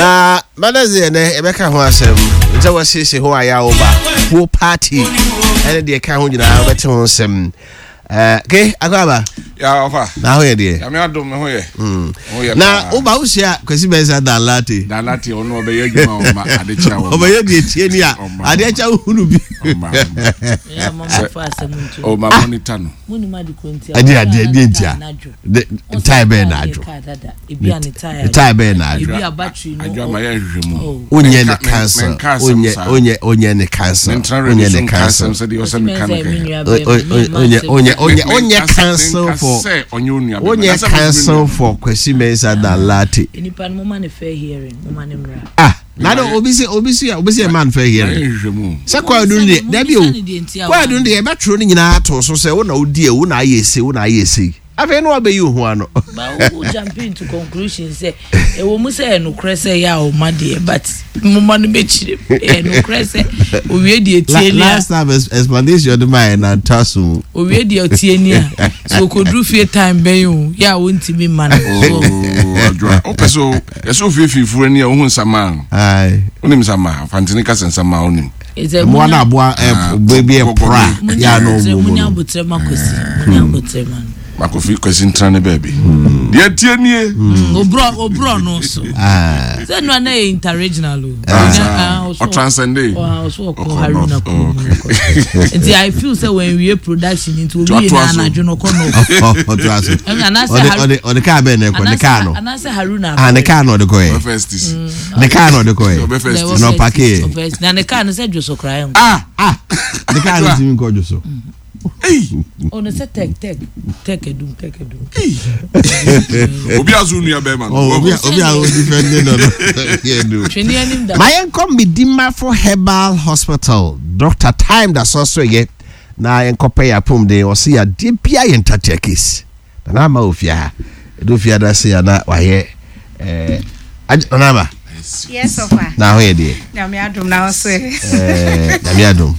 Na Mother's Day ɛnɛ yɛbɛka ho asɛm sɛ wɔasiesie ho ayɛ a woba kuo party ɛne deɛ ɛka ho nyinaa wobɛte ho nsɛm. Eh, ke akɔ aba. Ya ɔfa. Na ho yɛ deɛ. Nyame adom me ho yɛ. Mm. Ho yɛ Na woba wohyia Kwasi Mensah Dan Latte. Dan Latte ɔno ɔbɛyɛ adwuma ɔma ade kyɛ ɔma. Ɔbɛyɛ deɛ tie ni a ade kyɛ wohunu bi. Ɔma. Ɔma monitor no. Ɛde adeɛ deɛ ntia. Tae bɛyɛ na adwo. Tae bɛyɛ na adwo. Adwo ama yɛ nhwehwɛ mu. Wonyɛ ne council. Wonyɛ wonyɛ wonyɛ ne council. Wonyɛ ne council. Wonyɛ wonyɛ wonyɛ wonyɛ council for. Wonyɛ council for Kwesi Mensah Danlate. Nipa no mo ma ne fair hearing mo ma ne mmra. Ah na de obi se obi se obi se man fair hearing. Sɛ kwaadu no deɛ dabi o kwaadu no deɛ yɛbɛtwerɛ no nyinaa to so sɛ wo na wodi a wo na ayɛ ese wo na ayɛ ese afei na wabɛyi wo ho ano. Ba wo jump into conclusion sɛ ɛwɔ mu sɛ ɛnokorɛ sɛ yɛ a ɔma deɛ but moma no bɛkyerɛ mu ɛnokorɛ sɛ owie deɛ tie ni a. Last time explanation de ma yɛ na nta so. Owie deɛ ɔtie ni a sɛ okoduru fie time bɛn o yɛ a wontumi mma no. Adwoa wopɛ sɛ ɛsɛ ofiefi furu ani a wohu nsamaa no wonim nsamaa fantene ka sɛ nsamaa wonim mmoa no aboa baabi ɛpora yɛ a na ɔwɔ mu no abotrɛ ma kwasi munya abotrɛ ma no makofi kwasi ntena ne baabi hmm. deɛ tie nie hmm, oborɔ no so sɛ no ana yɛ interregional o ah, ɔtranscende ɔso ɔkɔ haruna kurom nti i feel sɛ wɔnwie production nti owie na anadwo no kɔ no ɔtoa so ɔde kaa bɛn na ɛkɔ ne kaa no anaasɛ haruna ah ne kaa na ɔde kɔ yɛ ne kaa na ɔde kɔ yɛ na ɔpake yɛ na ne kaa no sɛ dwoso koraa yɛ ah ah ne kaa no tumi nkɔ dwoso. Ɔno sɛ tɛk tɛk tɛk edum tɛk edum. Obi aso nua bɛrima no. Oh, obi obi a odi fɛn de no no. Yɛ du. Twene anim da. Ma yɛn kɔ Medimafo Herbal Hospital. Doctor Time da so so yɛ na yɛn kɔpɛ yɛ apɔmuden. Ɔsi yɛ adeɛ bia yɛ ntatea case. Nana ama ofie ha. Edu ofie ada se ya na wayɛ ɛɛ Nana ama. Yes, Ofa. Na ho yɛ deɛ. Nyame adom na wo so. Ɛɛ Nyame adom.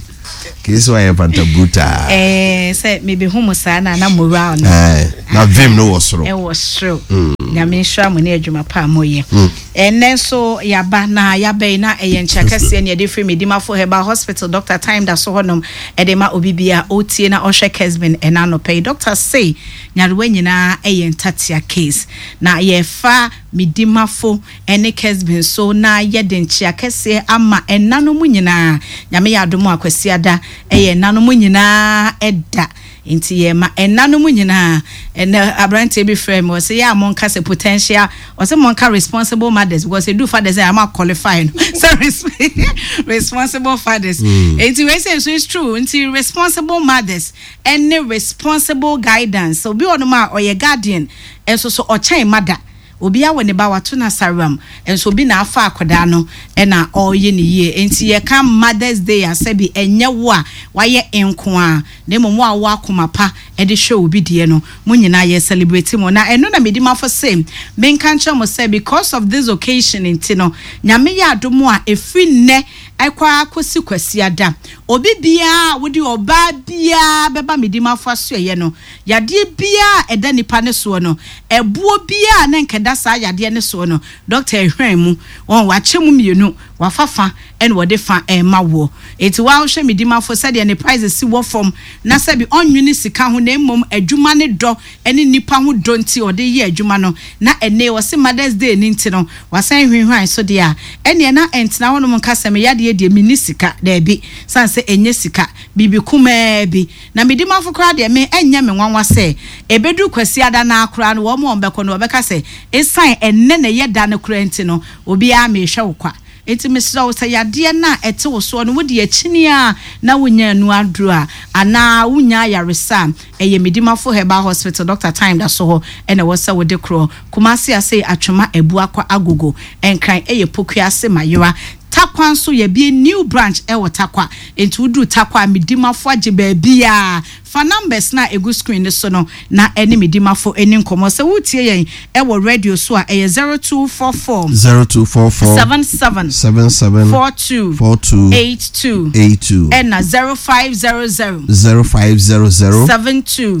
Kii sɛ wayɛ fanta brutaa. Ɛɛ sɛ mebehu mo saa na na moral no. Ɛɛ na vim no wɔ soro. Ɛwɔ soro. Mm. Nyame nhyira mo ne adwuma pa a moyɛ. Mm. Ɛnnɛ nso yaba na yaba yi na ɛyɛ nkyia kɛseɛ ne yɛde firi Medimafo Herbal Hospital Doctor Time da so hɔnom ɛde ma obi bia ɔtie na ɔhwɛ Kesbin ɛna anɔpa yi. Doctor sei nyarewa nyinaa ɛyɛ ntatea case na yɛfa Medimafo ɛne Kesbin so na yɛde nkyea kɛseɛ ama ɛna no mu nyinaa. Nyame yɛ adom a Kwasiada ɛyɛ ɛna no mu nyinaa ɛda. Nti yɛma ɛna no mu nyinaa. Ɛnɛ abranteɛ bi frɛɛ me ɔse yɛ a monka sɛ potential ɔse monka responsible mothers because ɛdu fathers a ama qualify no sɛ responsible fathers. Nti wei sɛ nso it's true nti responsible mothers ɛne responsible guidance. Obi wɔ nom a ɔyɛ guardian nso so ɔkyɛn mother. Obi awo ne ba wato no asaram nso obi na afa akwadaa no na ɔreyɛ no yie. Enti yɛka Mother's Day a sɛbi ɛnyɛ wo a wayɛ nkoaa na mmom wo a wowɔ akoma pa de hwɛ obi deɛ no mo nyinaa yɛ celebrate mo. Na ɛno na medi mafo se menka nkyerɛ mo sɛ because of this occasion nti no Nyame yɛ adom a ɛfiri nnɛ ɛkɔ ara kɔsi Kwasiada obi biara a wode ɔbaa biara bɛba Medimafo asoɛeɛ no Yadeɛ biara a ɛda nipa no soɔ no, ɛboɔ biara a na nka ɛda saa yadeɛ no soɔ no, dɔkta ɛhwan mu, wɔn, wakyɛ mu mmienu, wafa fa ɛna ɔde fa rema woɔ. Enti wo ara wohwɛ Medimafo sɛdeɛ ne prices si wɔ fam, na sɛbi ɔnnwene sika ho na mmom adwuma ne dɔ ne nnipa ho dɔ nti ɔde yɛ adwuma no, na ɛnnɛ yi ɔse Mother's Day no nti no, wasan hwinhwan so deɛ a, ɛnneɛ na ɛntena hɔnom nka sɛ me yadeɛ deɛ menni sika, daabi, sane sɛ ɛnyɛ sika, biribi kumaa bi. Na me dimafo koraa deɛ, me, ɛnyɛ me nwanwa sɛ, ɛbɛduru Kwasiada no ara koraa no, wɔn a wɔbɛkɔ no, wɔbɛka sɛ, ɛsiane ɛnnɛ na ɛyɛ da no koraa nti no, obiara merehwɛ wo kwa. Enti mesrɛ wo, sɛ yadeɛ no a ɛte wo soɔ no, wode akyini ara na wonnya anu aduro a, anaa wonnya ayaresa a, ɛyɛ Medimafo Herbal Hospital, Dɔkta Time da so hɔ na ɛwɔ sɛ wode korɔ. Kumasi Asei Atwoma Abuakwa Agogo, Nkran ɛyɛ Pokuase Mayera. Tarkwa nso yɛabue new branch wɔ Tarkwa. Enti woduru Tarkwa a, me dimafo agye baabiara. Fa numbers no a ɛgu screen no so no na ɛne me dimafo nni nkɔmmɔ. Sɛ woretie yɛn wɔ radio so a, ɛyɛ 0244. 0244. 77. 77. 42. 42. 82. 82. Ɛna 0500. 0500. 72. 72.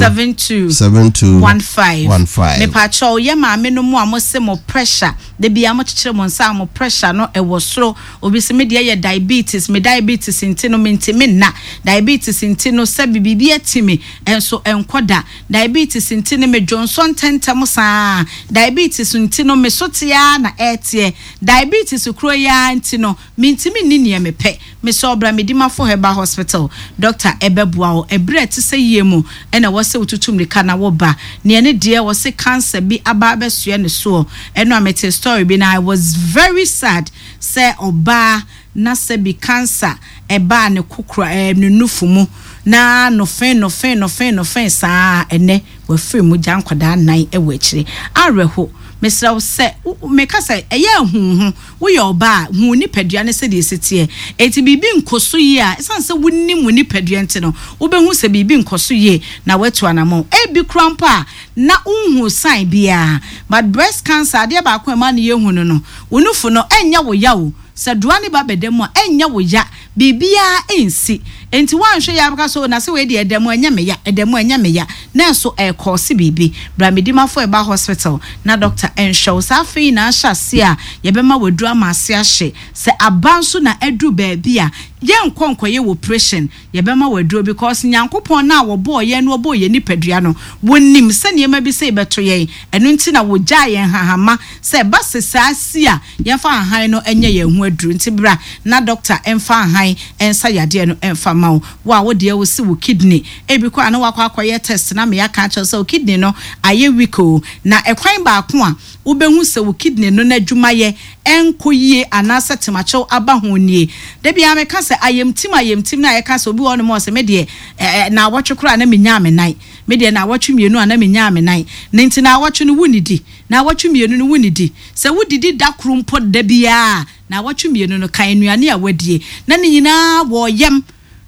72. 72. 15. 15. Mepakyɛw, yɛ maame no mo a mo se mo pressure, da biara mo kyekyere mo nsa a mo pressure no ɛwɔ soro. Obi se me deɛ yɛ diabetes, me diabetes nti no mentumi nna, diabetes nti no sɛbi biribi ati me nso ɛnkɔ da, diabetes nti no me dwonsɔ ntɛntɛm saa, diabetes nti no me so te ara na ɛreteɛ, diabetes koro yi ara nti no mentumi nni neɛ mepɛ. Mesrɛ wo bra Medimafo Herbal Hospital, doctor ɛbɛboa wo. Ɛberɛ a ɛte sɛ yie mu na ɛwɔ sɛ wotutu mmirika na woba. Neɛ ne deɛ wɔse cancer bi aba abɛsoɛ ne soɔ. Ɛno a metee story bi na I was very sad sɛ ɔbaa na sɛbi cancer ɛbaa ne kokora ɛɛ ne nufu mu na nofe nofe nofe nofe saa ɛnɛ wafiri mu gya nkwadaa nan ɛwɔ akyire. Awerɛho. Mesrɛ wo sɛ wo meka sɛ ɛyɛ a hu wo ho. Woyɛ ɔbaa a, hu wo nipadua no sɛdeɛ ɛsi teɛ. Enti biribi nkɔ so yie a, ɛsiane sɛ wonim wo nipadua nti no, wobɛhu sɛ biribi nkɔ so yie na woatu anammɔn. Ebi koraa mpo a, na wonhuu sign biara. But breast cancer, adeɛ baako a ɛma no yɛ hu no no, wo nufu no, ɛnyɛ wo ya o. Sɛ doa no ba bɛda mu a, ɛnyɛ wo ya. Biribiara nsi. Enti woanhwɛ yie a wobɛka sɛ, oh, na sɛ wei deɛ ɛda mu a, ɛnyɛ me ya, ɛda mu a, ɛnyɛ me ya. Nanso ɛrekɔɔse biribi. Bra Medimafo Herbal Hospital na dɔkta nhwɛ wo. Saa afe yi na ahyɛ aseɛ a yɛbɛma w'aduro ama ase ahye. Sɛ aba nso na aduru baabi a, yɛnkɔ nkɔyɛ wo operation. Yɛbɛma wo aduro because Nyankopɔn no a ɔbɔɔ yɛn na ɔbɔɔ yɛn nipadua no, Ɔnim sɛ nneɛma bi sei bɛto yɛn. Ɛno nti na Ɔgyaa yɛn nhahamma sɛ ɛba sɛ saa si a, yɛmfa ahan no nyɛ yɛn ho aduru. Nti bra na dɔkta mfa ahan nsa yadeɛ no mfa mma wo. Wo a wo deɛ wo se wo kidney, ebi koraa na woakɔ akɔyɛ test na me aka akyerɛ wo sɛ wo kidney no ayɛ weak o. Na ɛkwan baako a wobɛhu sɛ wo kidney no n'adwumayɛ ɛnkɔ yie anaasɛ temakyɛw aba ho nie. Da biara meka sɛ ayamtim ayamtim no a yɛka sɛ obi wɔ hɔnom a ɔse me deɛ ɛɛ naawɔtwe koraa na menyaa me nan, me deɛ naawɔtwe mmienu a na menyaa me nan. Ne nti naawɔtwe no wonnidi, naawɔtwe mmienu no wonnidi. Sɛ wodidi da koro mpo da biara a, naawɔtwe mmienu no, kan nnuane a woadie na ne nyinaa wɔ yam,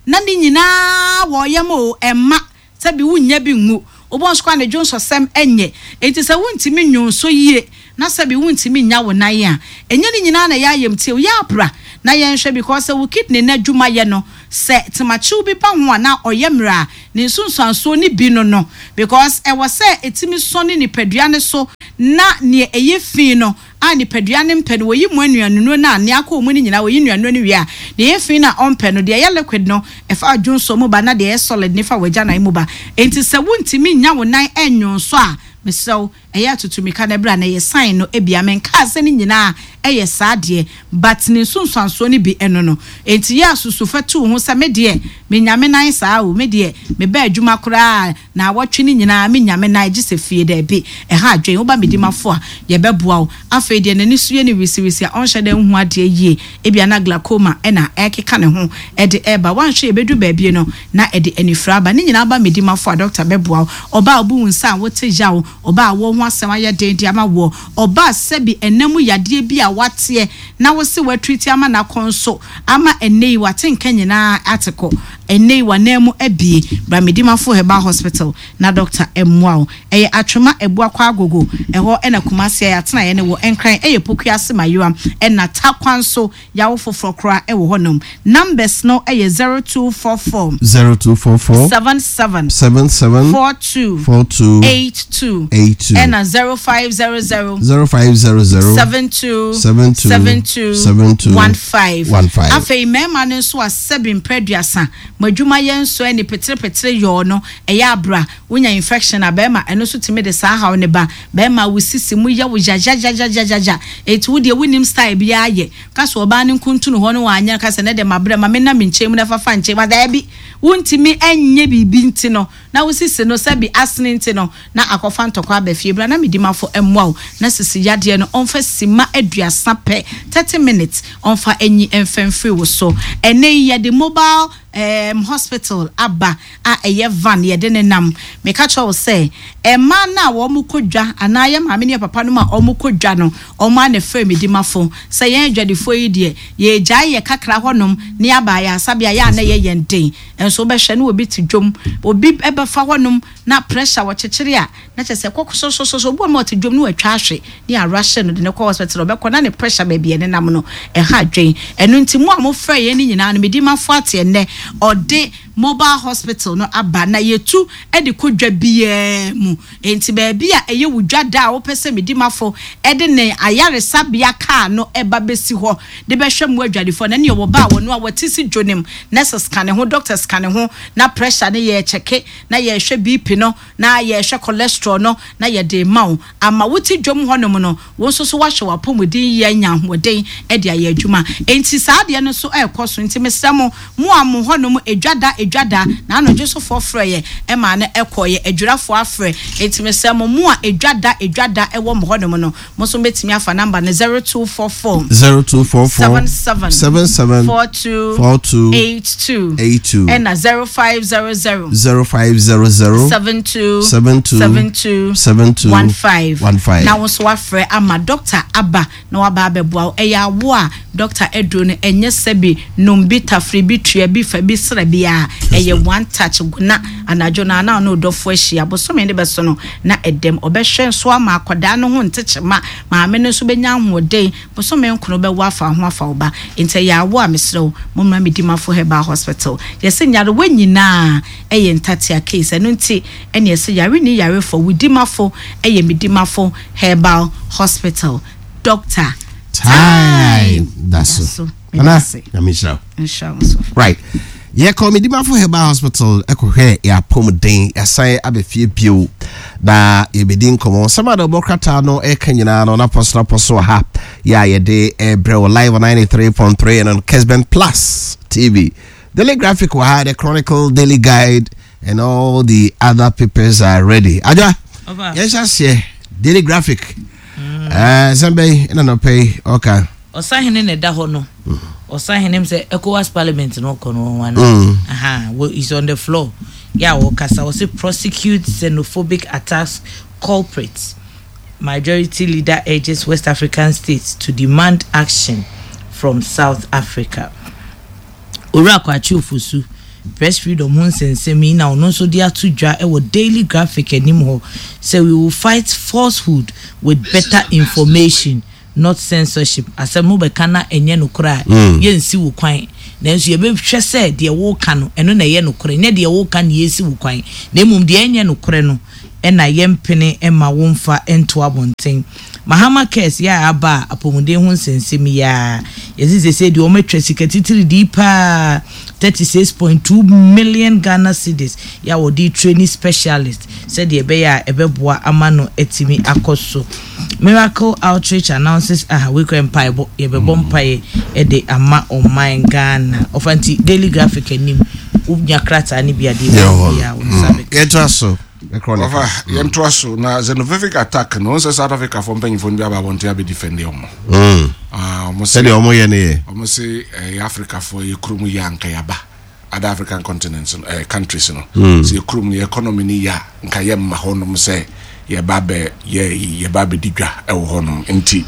na ne nyinaa wɔ yam o, ɛmma sɛbi wonnya bi ngu. Wobɔ nso koraa ne dwonsɔsɛm nyɛ. Enti sɛ wontumi nnwonsɔ yie na sɛbi wontumi nnya wo nan a, ɛnyɛ ne nyinaa na ɛyɛ ayamtie o. Yɛ abra na yɛnhwɛ because sɛ wo kidney no adwuma yɛ no, sɛ temakyew bi ba ho a na ɔyɛ mmerɛ a, ne nsunsuansoɔ no bi no no because ɛwɔ sɛ ɛtumi sɔne nipadua no so na neɛ ɛyɛ fi no a nipadua no mpɛ no, wɔyi mu nnuanennuro no a nea akɔ mu no nyinaa, wɔyi nnuanennuro no wie a, deɛ ɛyɛ fi no a ɔmpɛ no, deɛ ɛyɛ liquid no, ɛfa dwonsɔ mu ba na deɛ ɛyɛ solid no fa w'agyanan mu ba. Enti sɛ wontumi nnya wo nan nnwonsɔ a, mesrɛ wo, ɛyɛ a tutu mmirika na bra na yɛ sign no bi. Menkaa sɛ ne nyinaa yɛ saa deɛ, but ne nsunsuansoɔ no bi ɛno no. Enti yɛ a susu fa tu wo ho sɛ me deɛ, menya me nan saa o, me deɛ, meba adwuma koraa a, Naawɔtwe no nyinaa mennya me nan gye sɛ fie. Dabi, ɛha adwene. Woba me dimafo a, yɛbɛboa wo. Afei deɛ n'ani so yɛ no wisiwisi a ɔnhyɛ da nhu adeɛ yie. Ebia na glaucoma na ɛrekeka ne ho de reba. Woanhwɛ yie bɛduru baabi no, na ɛde anifira aba. Ne nyinaa ba me dimafo a, dɔkta bɛboa wo. Ɔbaa a wobu wo nsa a wote yaw, ɔbaa a wo ho asɛm ayɛ den de ama woɔ, ɔbaa sɛbi ɛna mu yadeɛ bi a woateɛ na wose woatreati ama no akɔ nso ama ɛnnɛ yi wate nka nyinaa ate kɔ. Ɛnnɛ yi w'ananmu abue. Bra Medimafo Herbal Hospital na dɔkta mmoa wo. Ɛyɛ Atwema Abuakwa Agogo, ɛhɔ na Kumasi a yɛatenaeɛ no wɔ. Nkran ɛyɛ Pokuase Mayowa ɛna Tarkwa nso yɛawo foforɔ koraa ɛwɔ hɔnom. Numbers no yɛ 0244. 0244. 77. 77. 42. 42. 82. 82. Ɛna 0500. 0500. 72. 72. 72. 72. 15. 15. Afei mmarima no nso a sɛbi mprɛ aduasa, mo adwuma yɛ nsɔ ani peterepetere yɔɔ no, ɛyɛ a bra, wonya infection a, barima, ɛno nso tumi de saa haw no ba. Barima, wo sisi mu yɛ wo yayayayayaya, enti wo deɛ wonnim style biara yɛ. Ka sɛ ɔbaa no nkuntunu hɔ no wanyɛ no, ka sɛ ɛnɛ deɛ mabrɛ, ma menna me nkyɛn mu na fafa nkyɛn mu, daabi, wontumi nyɛ biribi nti no, na wo sisi no sɛbi asene nti no, na akɔfa ntɔkwa aba fie. Bra na me dimafo mmoa wo na sisi yadeɛ no ɔmfa sima aduasa pɛ, 30 minutes, ɔmfa nyi mfa mfiri wo so. Ɛnnɛ yi yɛde mobile. um, hospital aba a ɛyɛ van yɛde ne nam. Meka kyerɛ wo sɛ mmaa no a wɔn kɔ dwa anaa yɛ maame ne yɛ papa nom a wɔn kɔ dwa no, wɔn ara na ɛfrɛ Medimafo sɛ yɛn adwadifoɔ yi deɛ yɛregyae yɛ kakra hɔnom na yɛaba ayaresabea yɛ a na ɛyɛ yɛn den. Nso wobɛhwɛ na obi te dwam, obi bɛfa hɔnom na pressure wɔkyekyere a na kyerɛ sɛ ɛkɔ sosososoo. Obi wɔ hɔ nom a ɔte dwam na watwa ahwe ne yɛarush no de no kɔ hospital, ɔbɛkɔ na ne pressure baabi a ɛnenam no ɛha adwen. Ɛno nti mo a mofrɛ yɛn no nyinaa no Medimafo ate ɛnnɛ ɔde mobile hospital no aba na yɛtu de kɔ dwa biara mu. Enti baabi a ɛyɛ wo dwa da a wopɛ sɛ Medimafo de ne ayaresabea kaa no ba bɛsi hɔ de bɛhwɛ mmoa adwadifoɔ no, ɛneɛ wɔba a wɔno a wɔte si dwonem, nurses ka ne ho, doctors ka ne ho, na pressure no yɛrekyɛke, na yɛrehwɛ BP no, na yɛrehwɛ cholesterol no, na yɛde rema wo. Ama wote dwam hɔnom no, wo nso so woahwɛ w'apɔmuden yie anya ahoɔden de ayɛ adwuma. Enti saa adeɛ no nso rekɔ so. Nti mesrɛ mo, mo a mo hɔnom edwa da edwa da, na anodwosofoɔ frɛeɛ maa no kɔeɛ, adwirafoɔ afrɛ. Enti mesrɛ mo, mo a edwa da edwa da wɔ mo hɔnom no, mo nso mobɛtumi afa number no, 0244 0244 77 77 42 42 82 82 ɛna 0500 0500 72 72 72 72 15 15. Na wo nso wafrɛ ama dɔkta aba na waba abɛboa wo. Ɛyɛ awo a dɔkta aduro no ɛnyɛ sɛbi nom bi tafere bi tua bi fa bi sra bi a ɛyɛ one touch na anadwo no a na ɔne ɔdɔfo ahyia bosome no bɛso no na ɛdɛm ɔbɛhwɛ nso ama akwadaa no ho ntekyema maame no nso bɛnya ahoɔden Bosome nkono bɛwo afa ho afa wo ba nti ɛyɛ awo a mesrɛ wo mommra Medimafo Herbal Hospital yɛse nyarewa nyinaa ɛyɛ ntatea case ɛno nti ɛne yɛse yare nni yarefo wo dimafo ɛyɛ Medimafo Herbal Hospital Doctor Time da so Nana Nyame nhyira wo. Nhyira wo nso. Right. Yɛkɔ Medimafo Herbal Hospital ɛkɔhwɛ yɛn apɔmuden, yɛasan aba fie bio na yɛbɛdi nkɔmmɔ. Nsɛm a dɔbɔ krataa no ɛka nyinaa no napɔ so napɔ so wɔ ha yɛ a yɛde ɛbrɛ wɔ live on 93.3 and on Kesben Plus TV. Daily Graphic wɔ ha, The Chronicle, Daily Guide and all the other papers are ready. Adwa, yɛnhyɛ aseɛ Daily Graphic. Mm. Nsɛm bɛyi ɛna nɔpɛ yi ɔka. Ɔsahene na ɛda hɔ no. Ɔsahene m sɛ ECOWAS parliament no ɔkɔ no wɔn ana. Aha, he's on the floor. Yɛ a ɔkasa ɔsɛ prosecute xenophobic attacks culprits. Majority leader urges West African states to demand action from South Africa. Owura Kwakye Ofosu, Press Freedom ho nsɛnsɛm yi na ɔno nso de ato dwa wɔ Daily Graphic anim hɔ sɛ we will fight falsehood with better information not censorship. Asɛm no wobɛka na ɛnyɛ nokorɛ a, yɛnsi wo kwan. Nanso yɛbɛhwɛ sɛ deɛ woreka no, ɛno na ɛyɛ nokorɛ, nyɛ deɛ woreka na yɛresi wo kwan, na mmom deɛ ɛnyɛ nokorɛ no na yɛmpene mma womfa nto abɔnten. Mahama Cares yɛ a aba a apɔmuden ho nsɛnsɛm yi ara. Yɛse sesei deɛ wɔatwa sika titiridii paa, 36.2 million Ghana cedis, yɛ a wɔde retraini specialist sɛdeɛ ɛbɛyɛ a ɛbɛboa ama no atumi akɔ so. Miracle Outreach announces aha wei koraa mpaebɔ, yɛbɛbɔ mpaeɛ de ama ɔman Ghana. Ɔfa nti Daily Graphic anim wonya krataa no bi a deɛ ɛwɔ biara wo nsa bɛka. Yɛntoa so. Ɔfa yɛntoa so na xenophobic attack no wɔn sɛ South Africa fo mpanyinfoɔ no bi aba abɔnten abɛ defend wɔn. Ah, wɔn sɛdeɛ wɔn yɛ no yɛ. Wɔn se ɛyɛ Africa foɔ yɛ kurom yɛ anka yaba other African continents no ɛɛ countries no. Sɛ yɛ kurom no yɛ economy no yɛ a nka yɛ mma hɔ nom sɛ yɛba abɛ yɛ yɛba abɛdi dwa ɛwɔ hɔ nom nti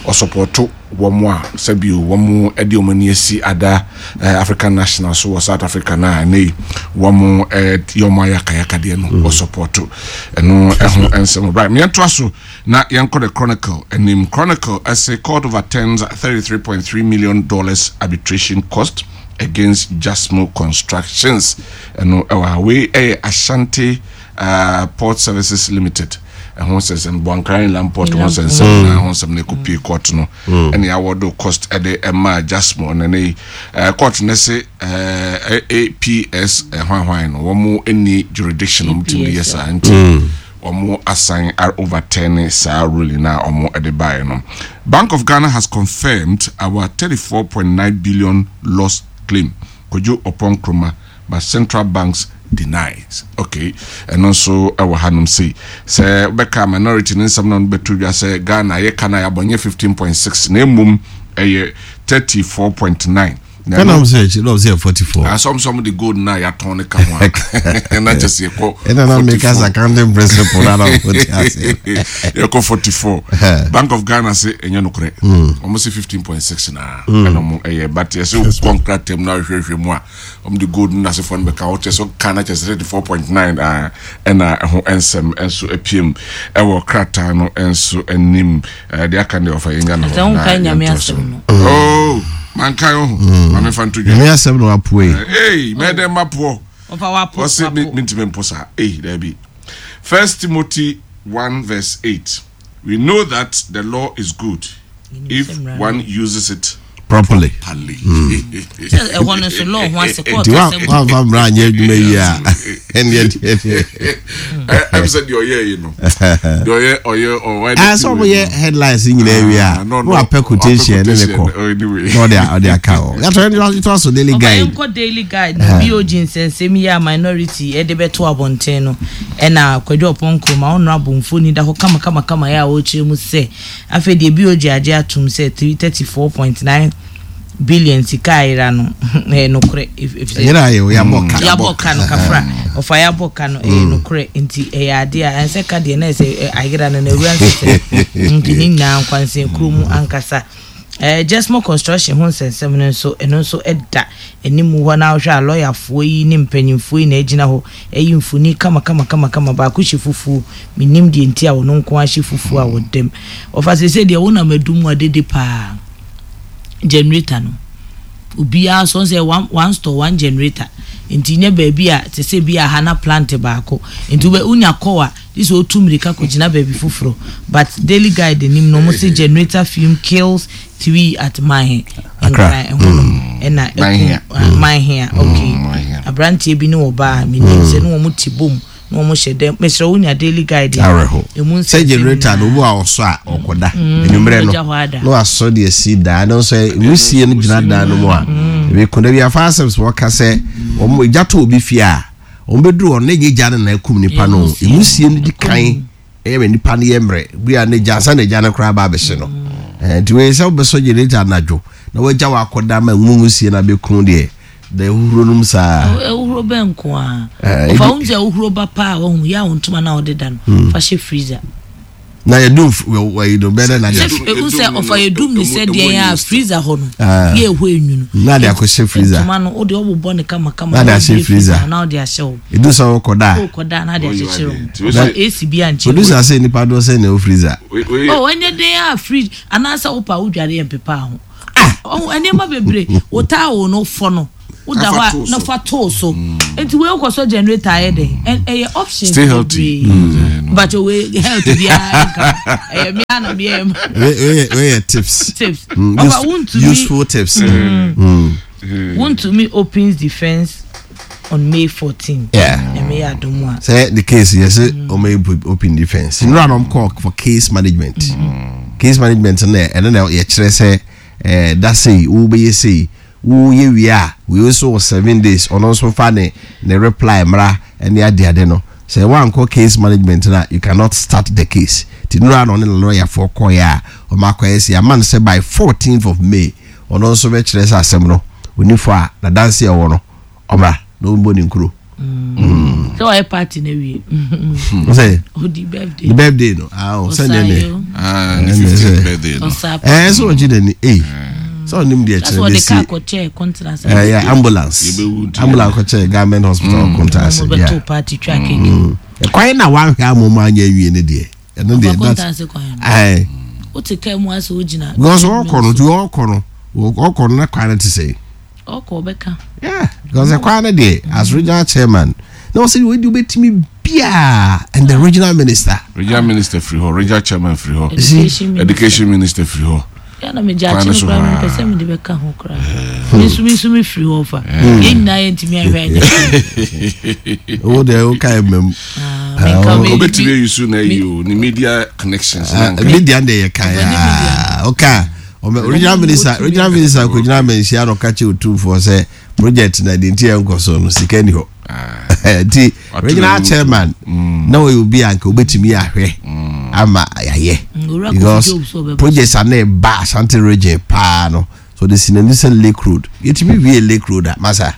ɔsɔpɔto wɔn a sɛbio wɔn de wɔn ani asi ada African national so wɔ South Africa no a ɛnɛ yi wɔn yɛ wɔn ayakayakadeɛ no wɔ sɔpɔto ɛno ɛho nsɛm. Right, yɛntoa so na yɛnkɔ the Chronicle anim. Chronicle ɛsɛ court overturns 33.3 million dollars arbitration cost against Jasmo Constructions. Ɛno ɛwɔ ha. Wei ɛyɛ Ashanti uh, Port Services Limited ɛho nsɛnsɛm Boankra Inland Port ho nsɛnsɛm mm. na ho nsɛm na ɛkɔpie court no mm. ɛne awɔdo cost ɛde ɛmaa Jasmo na ne eh, court no se eh, APS hwanhwan eh, no wɔn nni jurisdiction wɔn tumi yɛ saa nti mm. wɔn asan overturn saa ruling na wɔn ɛde baeɛ no. Bank of Ghana has confirmed our 34.9 billion loss claim. Kojo Oppong Nkrumah but central banks denies. Okay, ɛno nso ɛwɔ hanom sei. Sɛ wobɛka minority ne nsɛm na ɔno bɛto dwa sɛ Ghana yɛ ka no a yɛabɔ nyɛ 15.6 na mmom ɛyɛ 34.9. Ɛna ɔmo sɛ akyi na ɔmo sɛ 44. Asɔm sɛ ɔmo de gold na yɛatɔn ne ka ho a na kyɛ sɛ yɛkɔ. Ɛna na meka sɛ accounting principle na na ɔmo te aseɛ. Yɛkɔ 44. Bank of Ghana se ɛnyɛ nokorɛ. Ɔmo se 15.6 na ɛna ɔmo ɛyɛ, but yɛsɛ wokɔ nkrataa mu na ahwehwɛhwɛ mu a, ɔmo de gold no n'asefoɔ no bɛka ho, kyɛ sɛ ka na kyɛ sɛ 34.9 a ɛna ɛho nsɛm nso apiem ɛwɔ krataa no nso anim. Deɛ aka deɛ ɔfa yɛn Ghana hɔ na yɛn to so. Oh, mankan o, maame fa nto dwa. Nyame asɛm na wapoe. Ee, mɛdɛ mapoɔ. Ɔse mentumi mpo saa. Ee, daabi. First Timothy 1 verse 8. We know that the law is good if one uses it properly. Ɛhɔ no nso law ho ase kɔɔto asɛm. Nti wamfa mmara anyɛ adwuma yi a, ɛnneɛ deɛ deɛ. Ɛm sɛ deɛ ɔyɛ yi no, deɛ ɔyɛ ɔyɛ ɔwɔ. Ah, sɛ ɔmo yɛ headlines nyinaa wie a, na wapɛ quotation ne ne kɔ na ɔde ɔde aka hɔ. Yàtọ̀ ɛni tó aso Daily Guide. Ɔba yɛn kɔ Daily Guide na BOG nsɛnsɛm yi a minority ɛde bɛto abɔnten no, ɛna Kwadwo Ɔpɔn Nkrumah honourable mfoni da hɔ kama kama kama yɛ a ɔrekyerɛ mu sɛ Afei deɛ BOG agye atom sɛ 34.9 billion sika a ayera no ɛyɛ nokorɛ efisɛ Ɛnyɛ ayɛ o, yɛabɔ ka. Yɛabɔ ka no kafra. Ɔfa yɛabɔ ka no ɛyɛ nokorɛ nti ɛyɛ adeɛ a ɛnsɛ ka deɛ na ɛsɛ ayera no na awura nsesɛ nti ne nyinaa nkwansɛn kuro mu ankasa. Ɛɛ Jesmo construction ho nsɛnsɛm no nso ɛno nso ɛda anim hɔ na wohwɛ a lɔyafoɔ yi ne mpanyinfoɔ yi na ɛgyina hɔ Ɛyi mfoni kama kama kama kama baako hyɛ fufuo mennim deɛ nti a ɔno nko ara hyɛ fufuo a ɔdam ɔfa seesei deɛ wonam adum mu a dede paa generator no obiara sɔ sɛ one one store one generator nti nyɛ baabi a te sɛ bi a ha na plant baako nti wobɛ wonya kɔɔ a gye sɛ otu mmirika kɔgyina baabi foforɔ, but Daily Guide anim no wɔn se generator fume kills three at Manhe Nkran ɛhɔ nom ɛna ɛkum Manhea okay aberanteɛ bi ne ɔbaa menim sɛ ne wɔn te bom na wɔn hyɛ dɛm mesrɛ wonya Daily Guide a awerɛho emu sɛ nsɛnsɛm generator no nyinaa obi a ɔsɔ a ɔkɔda anwummerɛ no ɔgya hɔ ada na wasɔ de asi daa no nso nwusie no gyina dan no mu a ebi ko da bi afa asɛm sɛ wɔka sɛ wɔn gya to obi fie a Wɔbɛduru hɔ no, na ɛnyɛ gya no na akum nipa no. Nwusie no di kan ɛyɛ ma nipa no yɛ mmerɛ. Bi a ne gya ansa na gya no koraa ba abɛhye no. Nti wei sɛ wobɛsɔ generator anadwo na wagya wakɔda ma nwu nwusie no abɛku deɛ, da ahuhuro nom saa. Ahuhuro bɛn nko ara? Ɔfa wo sɛ ahuhuro ba paa a wahu yɛ a wo ntoma no a wode da no fa hyɛ freezer. Na yɛdum wɔyi no bɛdɛ na deɛ. Ehu sɛ ɔfa yɛdum ne sɛ deɛ yɛ a freezer hɔ no ah. yɛ ɛhɔ enwunu. Na de akɔhyɛ freezer. Ntoma no wode ɔbobɔ ne kama kama. Na de ahyɛ freezer. Na ɔde ahyɛ hɔ. Edu sɛ ɔkɔ da. Ɔkɔ da na de akyekyere ho. Na AC bi ankyɛ. Odu sɛ asɛ nipa doɔ sɛ na ɛwɔ freezer. Oh ɛnyɛ den a fridge anaasɛ wopa wodware yɛ mpepa ho. Ah nneɛma bebree wo towel no fɔ no. Woda hɔ a na fa too so. Nti wei wokɔsɔ generator ayɛ dɛn? Ɛyɛ options Stay healthy. bebree. But wei health biara nka. Ɛyɛ me ara na meyɛ ma. Wei yɛ tips. Tips. Ɔfa wontumi. Useful tips. Wontumi opens defence on May 14. Yeah. Nyame yɛ adom a. Sɛ the case yɛ sɛ ɔmo yɛ open defence. Nnura na ɔmo kɔ for case management. Case management no ɛno na yɛkyerɛ sɛ ɛɛ da sei wobɛyɛ sei. Wo yɛ wie a wei nso wɔ 7 days, ɔno nso nfa ne ne reply mmra ɛne adeade no. Sɛ wankɔ case management no a, you cannot start the case. Nti nnora na ɔne ne lawyer foɔ kɔeɛ a wɔn akɔyɛ sɛ yɛama no sɛ by 14th of May ɔno nso bɛkyerɛ sɛ asɛm no ɔni fɔ a n'adanse a ɔwɔ no ɔmmra na ɔmmɔ ne nkuro. Sɛ wayɛ party na wie. Sɛ odi birthday. Ne birthday no. Ah, oh, sɛ ne ne. Ah, ne 50th birthday no. Eh, sɛ ɔgye n'ani. Eh. Sɛ ɔnim deɛ kyerɛ bɛsi. Ɔde kaa kɔkyɛ kɔntena. Eh, yeah, ambulance. Ambulance kɔkyɛ government hospital kɔntena ase. Yeah. Ɔbɛto party twa keke. Ɛkwan na wanhwɛ amom anyɛ nwie ne deɛ. Ɛno deɛ that's. Aye. Wote kaa mu asɛ wogyina. Because ɔkɔ no, ɔkɔ no, ɔkɔ no na kwan no te sɛ. Ɔkɔ ɔbɛka. Yeah, because ɛkwan no deɛ as regional chairman na ɔsɛ wei deɛ wobɛtumi biaa and the regional minister. Regional minister firi hɔ, regional chairman firi hɔ, education minister, education minister firi hɔ. Yà na megye akyi no koraa mepɛ sɛ mede bɛka ho koraa. Me nso me nso me firi hɔ fa. Yɛn nyinaa yɛntumi ahwɛ anyɛ. Wo deɛ wo kae mmam. Obetumi ayi so na ayi o ne media connections. Media deɛ yɛ kae aa ɔka. Regional minister regional minister kɔgyina amanhyia na ɔka kyerɛ otumfoɔ sɛ project na deɛ nti ɛnkɔ so no sika ni hɔ ah. Nti regional chairman na ɔyɛ obi a nka obetumi ahwɛ ama yɛayɛ because projects a na ɛba Ashanti region paa no. So ɔde si n'ani sɛ Lake Road. Yɛtumi wie Lake Road a, masa,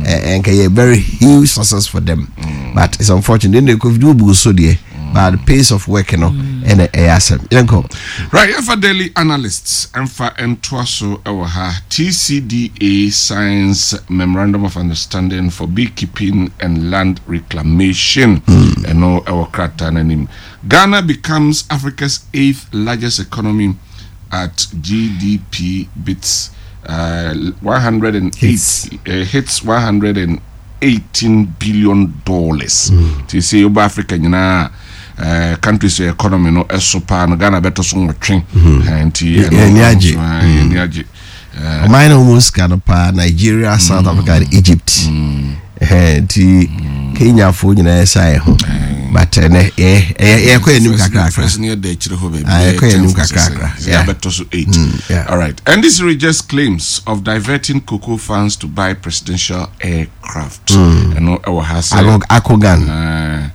ɛnka yɛ very huge success for them. But it's unfortunate. Ɛnna Kofi de obu so deɛ, but the pace of work no, ɛna ɛyɛ asɛm. Yɛnkɔ. Right, yɛmfa Daily Analysts mfa ntoa so wɔ ha. TCDA signs Memorandum of Understanding for Beekeeping and Land Reclamation. Ɛno ɛwɔ krataa no anim. Ghana becomes Africa's eighth largest economy at GDP bits uh, 108 hits, uh, hits 118 billion dollars. Ti sɛ yoba Africa nyinaa uh, countries economy no ɛso paa no Ghana bɛtɔ so nwɔtwe. Nti ɛni agye. Ɛni agye. Ɔman na wɔn sika no paa Nigeria, South Africa and Egypt. Nti Kenyafoɔ nyinaa ɛsa yɛ ho. But ɛnɛ yɛ yɛ kɔ anim kakrakra. First ne yɛda akyire hɔ baabi. Yɛ kɔ anim kakrakra. Yeah. Yɛabɛtɔ so 8. All right. NDC rejects claims of diverting cocoa funds to buy presidential aircraft. Ɛno ɛwɔ ha sɛ. Akogan.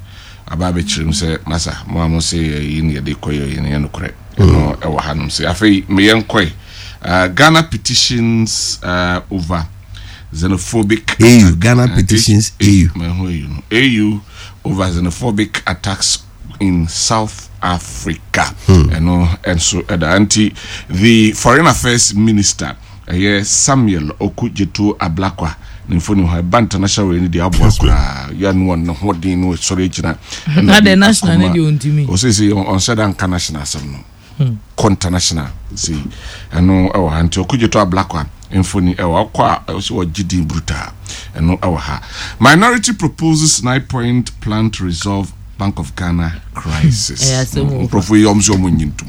Aba abɛkyerɛ mu sɛ masa mo a mo se yɛyi ne yɛde kɔ yɛ yɛn yɛ nokorɛ. Ɛno ɛwɔ ha nom sɛ afei meyɛ nkɔe. Ghana petitions uh, over xenophobic AU attack. Ghana petitions AU. AU, no. AU over xenophobic attacks in South Africa. Ɛno nso ɛda nti the foreign affairs minister ɛyɛ Samuel Okudzeto Ablakwa ne mfoni hɔ ɛba international wei no deɛ aboa koraa yɛ no wɔn ne ho den no sɔre agyina. Na de national ne deɛ ɔntumi. Ɔsɛ sɛ ɔnsɛ da nka national asɛm no. Kɔ international sei ɛno ɛwɔ ha nti Okudzeto Ablakwa mfoni ɛwɔ ɔkɔ a ɔsɛ ɔgye din brutal ɛno ɛwɔ ha. Minority proposes 9-point plan to resolve Bank of Ghana crisis. Nkurɔfoɔ yi ɔmo sɛ ɔmo nyi ntom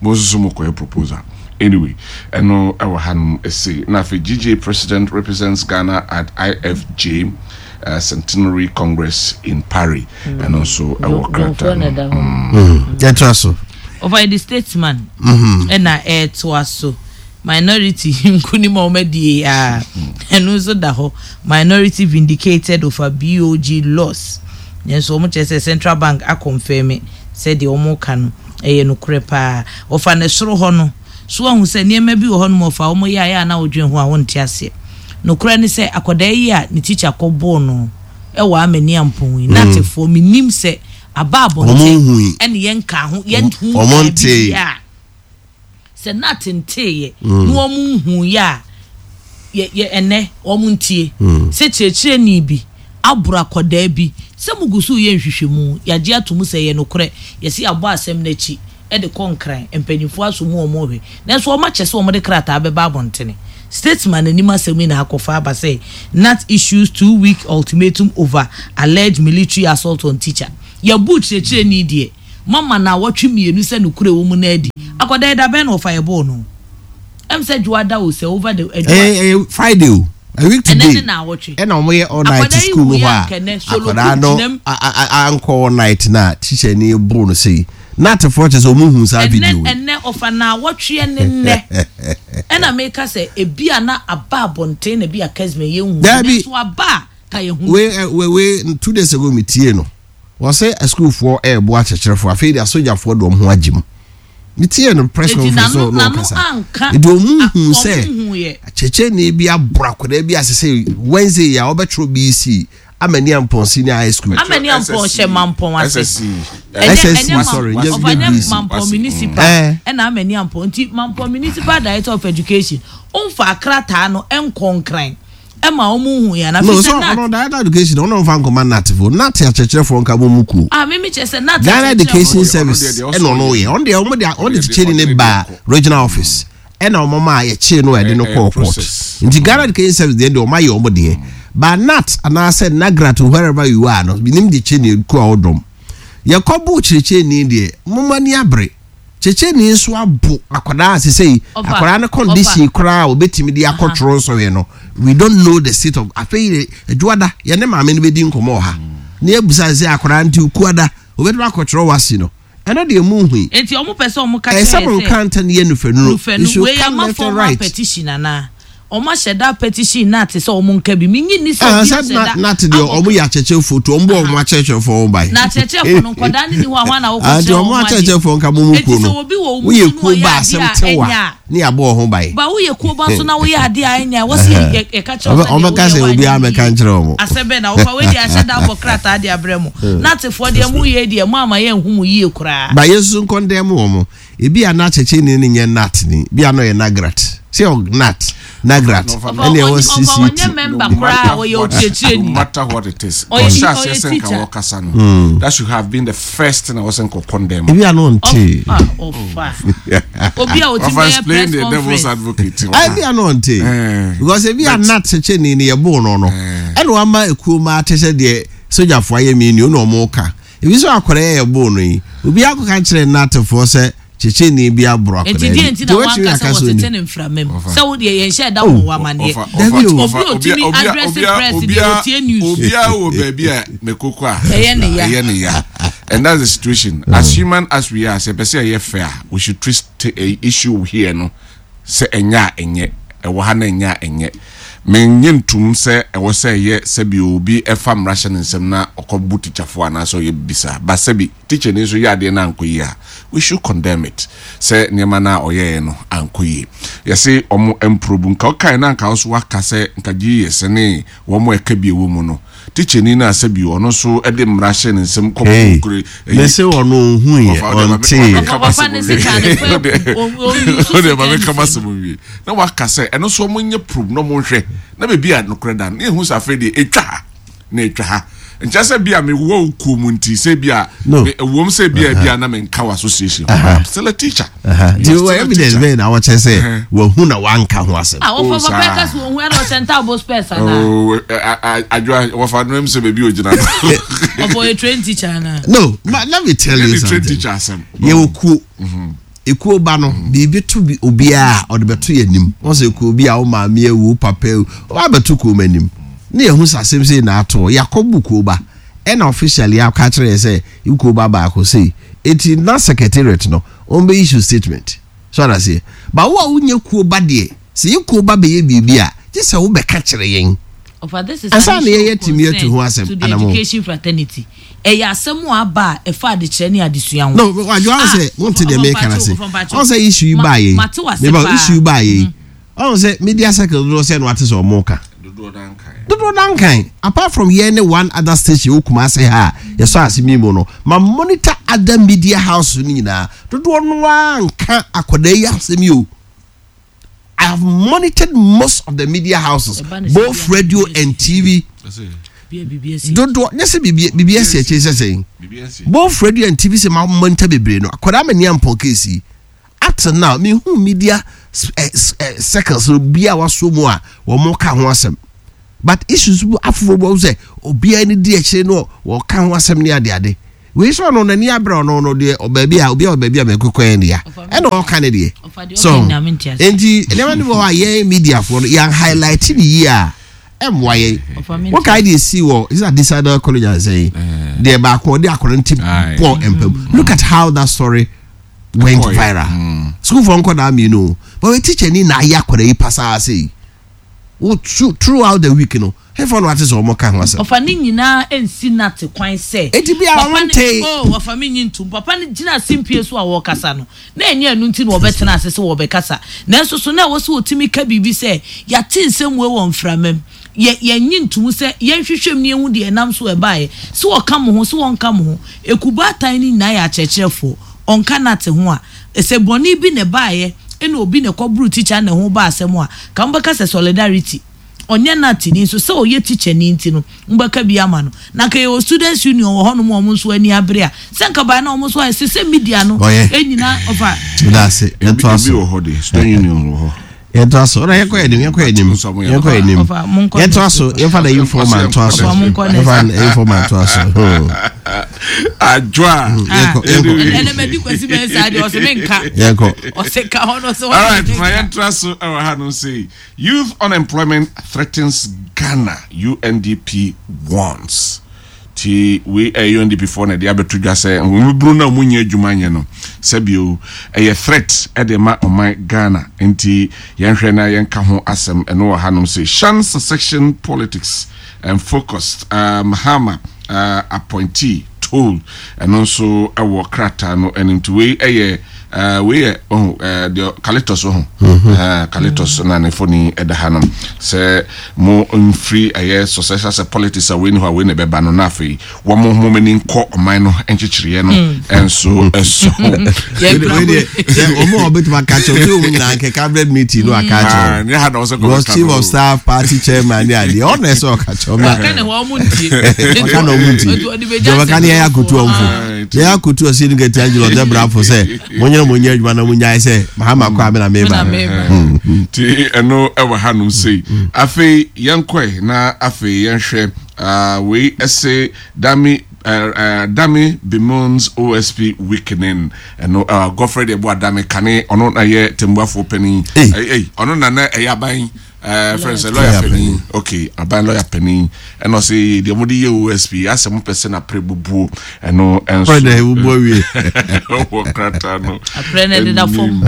mo nso so mo kɔyɛ proposal anyway ɛno ɛwɔ ha nom ɛsei na afei GJ president represents Ghana at IFJ uh, Centenary Congress in Paris ɛno nso ɛwɔ krataa no. Yɛntra so. Ɔfa the statesman ɛna ɛɛtoa so minority nkunim a wɔadi a ɛno nso da hɔ minority vindicated over BOG loss nanso wɔn kyerɛ sɛ central bank akɔnfɛmi sɛ deɛ wɔn ka no ɛyɛ nokorɛ paa. Ɔfa ne soro hɔ no so ahu sɛ nneɛma bi wɔ hɔ nom ɔfa wɔn yɛ a yɛ a na wɔdwen ho a wɔnte aseɛ. Nokorɛ ne sɛ akwadaa yi a ne tikya kɔbɔɔ no ɛwɔ Amani Ampɔn yi n'atefoɔ menim sɛ aba abɔnten ɛne yɛn ka ho yɛn hu bi a sɛ nat nteeɛ na wɔn nhu yɛ a yɛ yɛ ɛnɛ wɔn ntie sɛ kyerɛkyerɛni bi aboro akwadaa bi sɛ mo gu so yɛ nhwehwɛmu yɛagye ato mu sɛ yɛ nokorɛ yɛsi abɔ asɛm n'akyi ɛde kɔ Nkran mpanyinfoɔ aso mu wɔn hwɛ nanso wɔn akyɛ sɛ wɔn de krataa bɛba abɔntene. Statesman anim asɛm yi na akɔfa aba sɛ GNAT issues 2-week ultimatum over alleged military assault on teacher. Yɛbu kyerɛkyerɛni deɛ mama na awɔtwe mmienu sɛ nokorɛ wɔ mu no adi. Akwadaa yi da bɛn na ɔfa yɛbɔɔ no? Ɛm sɛ Dwoada o sɛ over the adwoa. Ɛyɛ Friday o. A week today. Ɛnɛ ne na awɔtwe. Ɛna wɔn yɛ all night school mu hɔ a akwadaa no ankɔ all night na teacher ni boro no sei. Na atefoɔ kyerɛ sɛ wɔn hu saa video yi. Ɛnɛ ɔfa na awɔtwe ne nnɛ. Ɛna meka sɛ ebi a na aba abɔnten na ebi a kɛsmɛ yɛn hu. Dabi. Nanso aba a ka yɛn hu. Wei wei wei 2 days ago mi tie no. Wɔsɛ asukuufoɔ ɛɛbo akyerɛkyerɛfoɔ afei de asogyafoɔ de wɔn ho agye mu. Mi tie no press conference no na ɔkasa. Nti wɔn hu sɛ kyerɛkyerɛni bi aboro akwadaa bi ase sɛ Wednesday a ɔbɛtwerɛ BEC Amani Ampɔn Senior High School. Amani Ampɔn hyɛ Mampɔn ase. SSC sorry nye BEC. Mampɔn Municipal ɛna Amani Ampɔn nti Mampɔn Municipal Director of Education nfa akrataa no nkɔ Nkran ɛma wɔn hu yɛn afi sɛ NAT. No, so ɔno director education ɔno nfa nkɔma NAT fo NAT akyerɛkyerɛfoɔ nka bɔ mu kuo. Ah mímí kyerɛ sɛ NAT Ghana Education Service ɛna ɔno yɛ ɔno deɛ ɔmo de ɔmo de kyekyɛ ni ne ba regional office ɛna ɔmo ma yɛkyee no ɛde no kɔɔ court nti Ghana Education Service deɛ deɛ ɔmo ayɛ ɔmo deɛ ba NAT anaasɛ NAGRAT wherever you are no nim de kyɛ ni kuo a ɔdɔm yɛkɔ bo kyerɛkyerɛni deɛ mo ma ni abere. Kyekyeni nso abo akwadaa a sesei akwadaa no condition koraa a obetumi de akɔtwerɛ nsɔhwɛ no, we don't know the state of. Afei Adwoada yɛne maame no bɛdi nkɔmmɔ wɔ ha na yɛabisa sɛ akwadaa nti Okuada obetumi akɔtwerɛ wasi no, ɛno deɛ mu nhui. Enti ɔmo pɛ sɛ ɔmo ka kyerɛ yɛ sɛ. Ɛsɛ mo nka nta no yɛ nufɛnuro. Nufɛnu wei ama formal petition anaa? Ɔmo ahyɛ da petition nat sɛ ɔmo nka bi. Menye nni sɛ Ah, obi sɛ ahyɛ na da nat deɛ akɔ ɔmo yɛ akyerɛkyerɛfoɔ tu ɔmo bɔ ɔmo akyerɛkyerɛfoɔ ho ban. Na akyerɛkyerɛfoɔ no nkɔdaa no ni hɔ a hwan na wokɔ Ah, nti kyerɛ ɔmo wɔn adeɛ? akyerɛkyerɛfoɔ nka mo mu Enti kuo sɛ no obi wɔ wo mu woyɛ so na kuo ɔyɛ ba adeɛ asɛm a tew a ɛnyɛ a ne yɛabɔ wo ho ban. Ba woyɛ kuo ba nso na woyɛ adeɛ a ɛnyɛ a ɛwɔ sɛ yɛ yɛka kyerɛ wo sɛ deɛ Ɔbɛka woyɛ sɛ woanyɛ obiara no mmɛka yie. nkyerɛ wɔn. Asɛm bɛn na wofa wei deɛ ahyɛ da abɔ krataa de abrɛ mo. Natefoɔ deɛ moyɛ deɛ moama yɛnhu mo yie koraa. Ba yɛn nso nkɔndɛm wɔn. Ebi a na kyɛkyɛni no nyɛ nat ni, bi a na ɔyɛ nagrat. Sɛ ɔ nat, nagrat, ɛna ɛwɔ CCT. No matter what, no matter what it is, ɔhyɛ aseɛ sɛ nka wɔkasa no, that should have been the first thing a wɔsɛ nka ɔkɔndɛm. Ebi a na ɔnte. Obi a ɔti bɛyɛ press the devil's conference. advocate. Ebi a na ɔnte. Because ebi a nat kyɛkyɛni no yɛ boo no no, ɛna wama ekuo mu ate sɛ deɛ sogyafoɔ ayɛ mi ni, ɔna ɔmo ka. Ebi nso akwadaa yi a yɛboo no yi, obi akɔka kyerɛ Natefoɔ sɛ kyekyeni bi aboro akwadaa Enti bi. deɛ nti na Deɛ watumi wanka aka sɛ sɛ wɔtete onim. ne mframa mu? Sɛ wo deɛ yɛnhyɛɛ da Oh, mmɔ wo amaneɛ. Ɔfa, Dabi ɔfa, o. ɔfa, Obi a obia, ɔtumi obia, address obia, press deɛ obia, ɔtie news. obia wɔ baabi a mekoko a Ɛyɛ ne ya. ɛyɛ ne ya. And that's the situation. As human as we are, sɛ yɛpɛ sɛ yɛyɛ fair a, we should treat the issue here no Sɛ ɛnyɛ a ɛnyɛ, ɛwɔ ha na ɛnyɛ a ɛnyɛ. Mennye ntom sɛ ɛwɔ sɛ ɛyɛ sɛbi obi fa mmara hyɛ ne nsam na ɔkɔbo tikyafoɔ anaasɛ ɔyɛ biribi saa. But sɛbi tikyani nso yɛ adeɛ na ankɔ yie a, we should condemn it sɛ nneɛma no a ɔyɛeɛ no ankɔ yie. Yɛse wɔn mprobu. Nka wokae na anka wo nso woaka sɛ nka GES ne wɔn a ɛka bi ɛwɔ mu no, Tikyani no a sɛbi ɔno nso de mmara hyɛ ne nsam kɔ Hey, kure. mese ɔno ɔnhuiɛ, ɔnteeɛ. Papa ne sika ne fa Ɔde ma meka m'asɛm nwie. Na waka sɛ ɛno nso wɔn nyɛ probe na wɔn nhwɛ na baabi a nokorɛ da no na ehu sɛ afei deɛ etwa ha na etwa ha. Nkyɛ sɛ bi a mewɔ wo kuo mu nti sɛ bi a No. me ɛwom sɛ bi a bi a na menka wɔ association ho but I'm still a teacher. Nti You are still wɔ a evidence teacher. bɛn na wɔkyerɛ sɛ wahu na wanka ho asɛm? Ah, wɔfa Oh, papa saa. ɛka sɛ wɔhu ɛna ɔhyɛ ntaabo spɛs anaa? Oh, adwoa wɔfa no m sɛ baabi ogyina no. Ɔfɔ ɔyɛ train teacher anaa? No, ma let me tell you Yɛne train something. teacher asɛm. Yɛwɔ kuo. Ekuo ba no, biribi to bi obiara a, ɔde bɛto yɛn anim. Wɔn sɛ ekuo bi a wo maame awu, wo papa awu, wɔn abɛto kuo mu anim. Ne yɛhu sɛ asɛm sei na ato. Yɛakɔbu kuo ba. Ɛna officially aka akyerɛ yɛn sɛ kuo ba baako sei. Eti na secretariat no, wɔn bɛ issue statement. So ate aseɛ? But wo a wonyɛ kuo ba deɛ, sɛ yɛ kuo ba bɛyɛ biribi a, gye sɛ wobɛka kyerɛ yɛn. Ɔfa this is Ansa an na issue yɛyɛ of atumi atu ho concern asɛm to the anamɔ. education fraternity. Ɛyɛ asɛm a aba a ɛfa adekyerɛ ne adesua ho. No, wadwo ahụ Ah, sɛ wonte ɔfa deɛ meka no mpakyɛw, ase. ɔfa mpakyɛw. Ɔhu sɛ issue yi Ma- baayɛ yi. mate wase Meba paa. issue yi baayɛ yi. Ɔhu sɛ media circle dodoɔ sɛ na wate sɛ ɔmo ka. Dodoɔ no ankan. Dodoɔ no ankan. Apart from yɛn ne one other station wɔ Kumasi ha a yɛsɔ ase mi mu no, ma monitor other media house no nyinaa. Dodoɔ no ara nka akwadaa yi asɛm yi o. I have monitored most of the media houses, both radio and TV. Dodoɔ nyɛ sɛ biribi biribi asi akyire sɛ sɛn. Both radio and TV sɛ ma monitor bebree no akwadaa ma ni ampɔn case yi. Up till now me hu media eh, eh, circles bi a waso mu a wɔn ka ho asɛm. But issues bi afoforɔ bi wɔn sɛ obiara ni di akyire no wɔka ho asɛm ne adeade. Wei sɛ ɔno n'ani abere ɔno no deɛ ɔbaabi a obi a ɔbaabi a mɛkɔ kɔɛ ne ya ɛna ɔka ne deɛ so nti nneɛma no bi wɔ hɔ a yɛn mediafoɔ no yɛn highlight ne yie a ɛmmoa yɛn wɔkae deɛ esi wɔ is that Desailly college ansɛ yi deɛ baako ɔde akɔrɔ nti bɔ mpam look at how that story went viral sukuufoɔ nkɔdaa mmienu but wɔ teacher ni na ayɛ akɔrɔ yi pasaa sɛ yi. Wo throughout the week no, hefa na wate sɛ wɔn ka ho asɛm? Ɔfa ne nyinaa nsi Nate kwan sɛ. Enti bia Papa wɔn no, ntee. oh, ɔfa me nyi ntom. Papa no gyina simpie so a wɔrekasa no, na ɛnyɛ ɛno nti na wɔbɛtena ase sɛ wɔrebɛkasa. Nanso so na ɛwɔ sɛ wɔtumi ka biribi sɛ, Yɛate nsɛm wei wɔ mframa mu. Yɛ, yɛnnye ntom sɛ yɛnhwehwɛ mu na yɛnhu deɛ ɛnam so ɛbaeɛ. Sɛ wɔka mo ho, sɛ wɔnka mo ho. Ekubaatan no nyinaa yɛ akyerɛkyerɛfoɔ. Ɔnka Nate ho a, sɛ bɔne bi na ɛbaeɛ, ɛna obi na ɛkɔboro tikya na ɛho ba asɛm a, ka mobɛka sɛ solidarity. Ɔnyɛ Natini nso, sɛ ɔyɛ tikyani nti no, mobɛka bi ama no. Na anka yɛwɔ students union wɔ hɔnom a wɔn nso ani abere a, sɛ anka by now wɔn nso ayɛ sɛ sɛ media no Ɔyɛ. nyinaa ɔfa. Meda ase. Yɛntoa so. Ebi wɔ hɔ de, student union wɔ hɔ. Yɛntoa so. Ɔna yɛnkɔ yɛn anim, yɛnkɔ yɛn anim. Yɛnkɔ yɛn anim. Ɔfa, monkɔ Yɛntoa next so. paper. Yɛmfa na informa ntoa so. Ɔfa, monkɔ next Yɛmfa na informa ntoa so. Hmm. Adwoa. Hmm, yɛnkɔ, yɛnkɔ. Ɛnɛ madi kwasi bɛyɛ saa deɛ ɔse menka. Yɛnkɔ. Ɔse ka hɔ no ɔse All right, ma yɛntra so ɛwɔ ha no sei. Youth unemployment threatens Ghana, UNDP warns. Nti wei ɛyɛ UNDP foɔ na ɛde abɛto dwa sɛ mmabunu no a wɔnnya adwuma nyɛ no sɛbio ɛyɛ threat ɛde ma ɔman Ghana nti yɛnhwɛ na yɛnka ho asɛm ɛno wɔ hanom sei Shun succession politics and focused uh, Mahama uh, appointee toll ɛno nso ɛwɔ krataa no anim nti wei ɛyɛ uh, wei yɛ ɔho uh, deɛ Kalitos ɔho mm-hmm. uh, Kalitos na ne foni ɛda hanom sɛ Mo mfiri ɛyɛ successor sɛ politics a wei ni hɔ a wei na ɛbɛba no na afei wɔn mo mo ani nkɔ ɔman no nkyekyereɛ no nso so. Wɔn a wɔbɛtumi aka kyerɛ wɔn wɔn nyinaa nkɛ cabinet meeting no aka kyerɛ wɔn. Ha na wɔsɛ kɔkɔ ka chief of staff party chairman ne adeɛ ɔna ɛsɛ ɔka kyerɛ wɔn. Ɔka na wɔn ntie. Ɔka na wɔn ntie. Deɛ ɔbɛka ne yɛyɛ akotu wɔn fo. Yɛyɛ akotu ɔsi ne kɛtɛ angelo ɔdɛ brafo sɛ. Monyere mo nyɛ adwuma na monyae sɛ Mahama kɔ a me na meba. Nti ɛno ɛwɔ hanom sei. Afei yɛnkɔe na afei yɛnhwɛ uh, wei ɛse Dami uh, uh, Dami bemoans OSP weakening. Ɛno uh, Godfrey deɛ boa Dami kane ɔno na yɛ tembuafoɔ panin. Hey. Ɔno na na ɛyɛ aban ɛɛ fɛn sɛ lɔya panin ok aban lɔya panin ɛna ɔsɛ deɛ mo de yɛ osp asɛ mo pɛ sɛ na apere bubuo ɛno ɛnso pɛ na ebubu awie wɔ krataa no apere na ɛdeda fam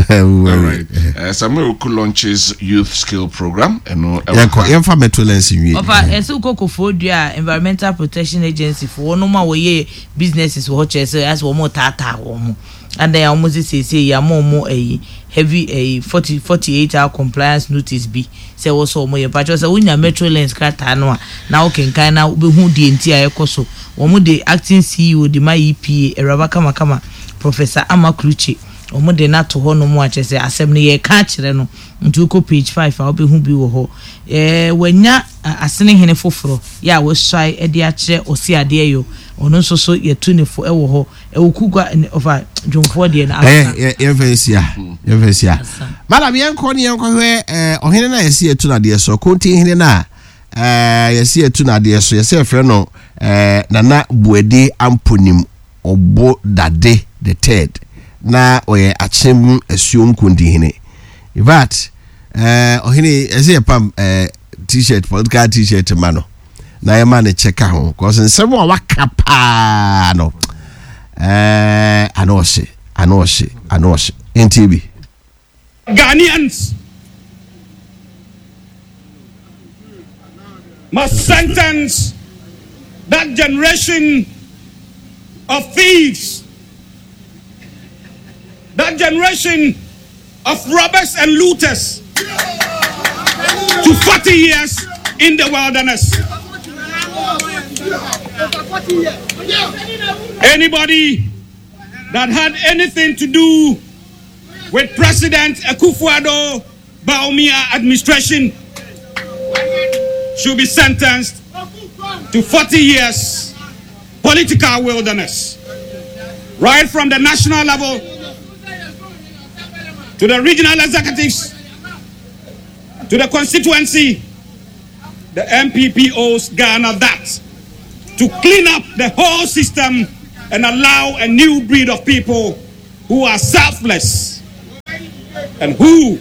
alright ɛɛ Samuel Oku launches youth skill program ɛno ɛwɔ yɛnkɔ yɛnfa metro lens nwie ɔfa ɛsɛ wokɔ kofoɔ dua a environmental protection agency fo wɔn a wɔyɛ businesses wɔ hɔ kyerɛ sɛ asɛ wɔn taataa wɔn ho. Adɛn a wɔn se seesei yɛama wɔn ayi heavy ayi 40 48 hour compliance notice bi sɛ ɛwɔ sɛ wɔn yɛ. Mpakyɛw sɛ wonya Metro Lens krataa no a na wokenkan na wobɛhu deɛ nti a ɛkɔ so. Wɔn de acting CEO de ma EPA, Awuraba Kamakama, Professor Ama Klutse, wɔn de no ato hɔ nom a kyerɛ sɛ asɛm no yɛreka akyerɛ no. Nti wokɔ page 5 a wobɛhu bi wɔ hɔ. Ɛɛ wanya asene hene foforɔ yɛ a wasuae de akyerɛ ɔse adeɛ yɔ. Ɔno nso so yɛtu ne fo wɔ hɔ. Ɛwɔ kugua ne ɔfa dwomfoɔ deɛ no asa. Ɛyɛ yɛmfa nsia yɛmfa nsia. Madam yɛnkɔ ne yɛnkɔhwɛ ɛɛ ɔhene no a yɛsi yɛtu n'adeɛ so kontin hene no a ɛɛ yɛsi yɛtu n'adeɛ so yɛsɛ yɛfrɛ no ɛɛ Nana Buadi Amponim Ɔbo Dade the third na ɔyɛ Akyem Asuom kontin hene. In fact ɛɛ ɔhene yɛsɛ yɛpam ɛɛ t-shirt political t-shirt ma no. na yɛma ne kyɛ ka ho kɔs nsɛm a waka paa no ɛɛ ano ɔhye ano ɔhye ano ɔhye nti bi. Ghanaians must sentence that generation of thieves, that generation of robbers and looters to 40 years in the wilderness. Anybody that had anything to do with President Akufo-Addo Bawumia administration should be sentenced to 40 years political wilderness. Right from the national level to the regional executives, to the constituency, the MPP owes Ghana that to clean up the whole system and allow a new breed of people who are selfless and who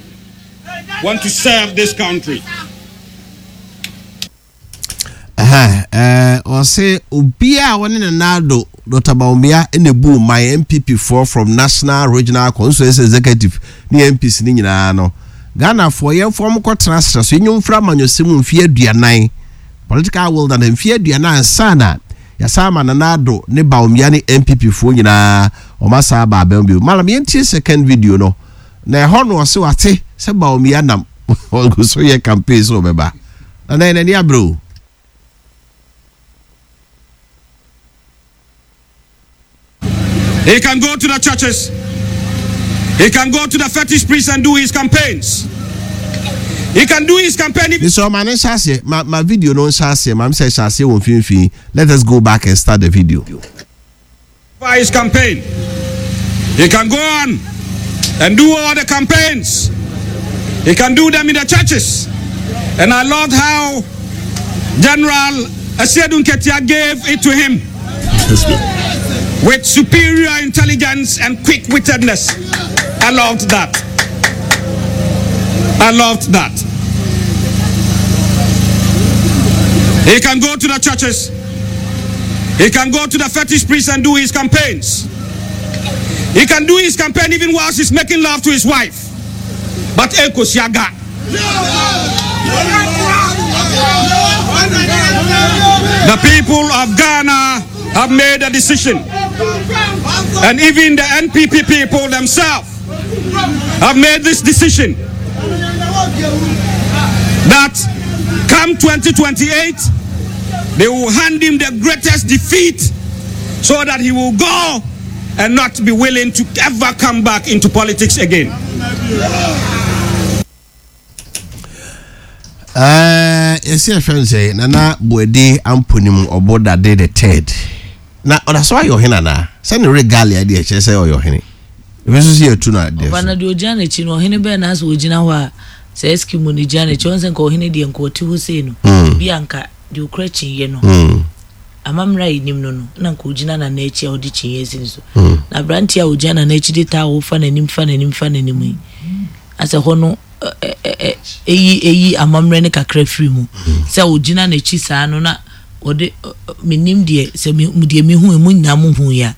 want to serve this country. Ɔse obiara a wɔne Nana Addo Dr. Bawumia na ebu man NPP foɔ from national regional constituency executive ne MPs ne nyinaa no Ghanafoɔ yɛmfa wɔn kɔtena serɛ so yɛnyɛ mfiri amanyɔsɛm mu mfeɛ aduanan political wilderness mfeɛ aduanan ansa na yɛasan ama Nana Addo ne Bawumia ne NPP foɔ nyinaa wɔn asan aba abɛn bio. Malam yɛntie second video no na ɛhɔ no ɔse wate sɛ Bawumia nam ɔgu so yɛ campaign sɛ ɔbɛba. Nana yɛn ani abere o. He can go to the churches. He can go to the fetish priest and do his campaigns. He can do his campaign. Mesrɛ ma no nhyɛ aseɛ ma ma video no nhyɛ aseɛ ma mesɛ hyɛ aseɛ wɔ mfimfini let us go back and start the video. For his campaign. He can go on and do all the campaigns. He can do them in the churches. And I loved how General Asiedu Nketia gave it to him with superior intelligence and quick wittedness. I loved that. I loved that. He can go to the churches. He can go to the fetish priest and do his campaigns. He can do his campaign even whilst he's making love to his wife. But Eko Siaga. The people of Ghana have made a decision. And even the NPP people themselves have made this decision that come 2028, they will hand him the greatest defeat so that he will go and not be willing to ever come back into politics again. Yɛsi ɛhwɛ no sɛ Nana Boadi Amponim Ɔbo Dade the third na ɔda so ayɛ ɔhene anaa? Sɛ ne regalia deɛ ɛkyerɛ sɛ ɔyɛ ɔhene. Ebi nso sɛ yɛtu no adeɛ Ɔba so. na deɛ ɔgyina n'akyi no ɔhene bɛn na asɛ ɔgyina hɔ a sɛ Eskimo na ɛgyina n'akyi ɔn sɛ nka ɔhene deɛ nka ɔte hɔ sei no bi a nka deɛ ɔkura kyiniiɛ no amammerɛ a yɛnim no no na nka ɔgyina nana akyi a ɔde kyiniiɛ asi ne so na aberanteɛ a ɔgyina nana akyi de taa ɔfa n'anim fa n'anim fa n'anim yi asɛ hɔ no ɛyi ɛyi amammerɛ no kakra firi mu sɛ ɔgyina n'akyi saa no na ɔde menim deɛ sɛ me deɛ mehu emu nyinaa mo hu ya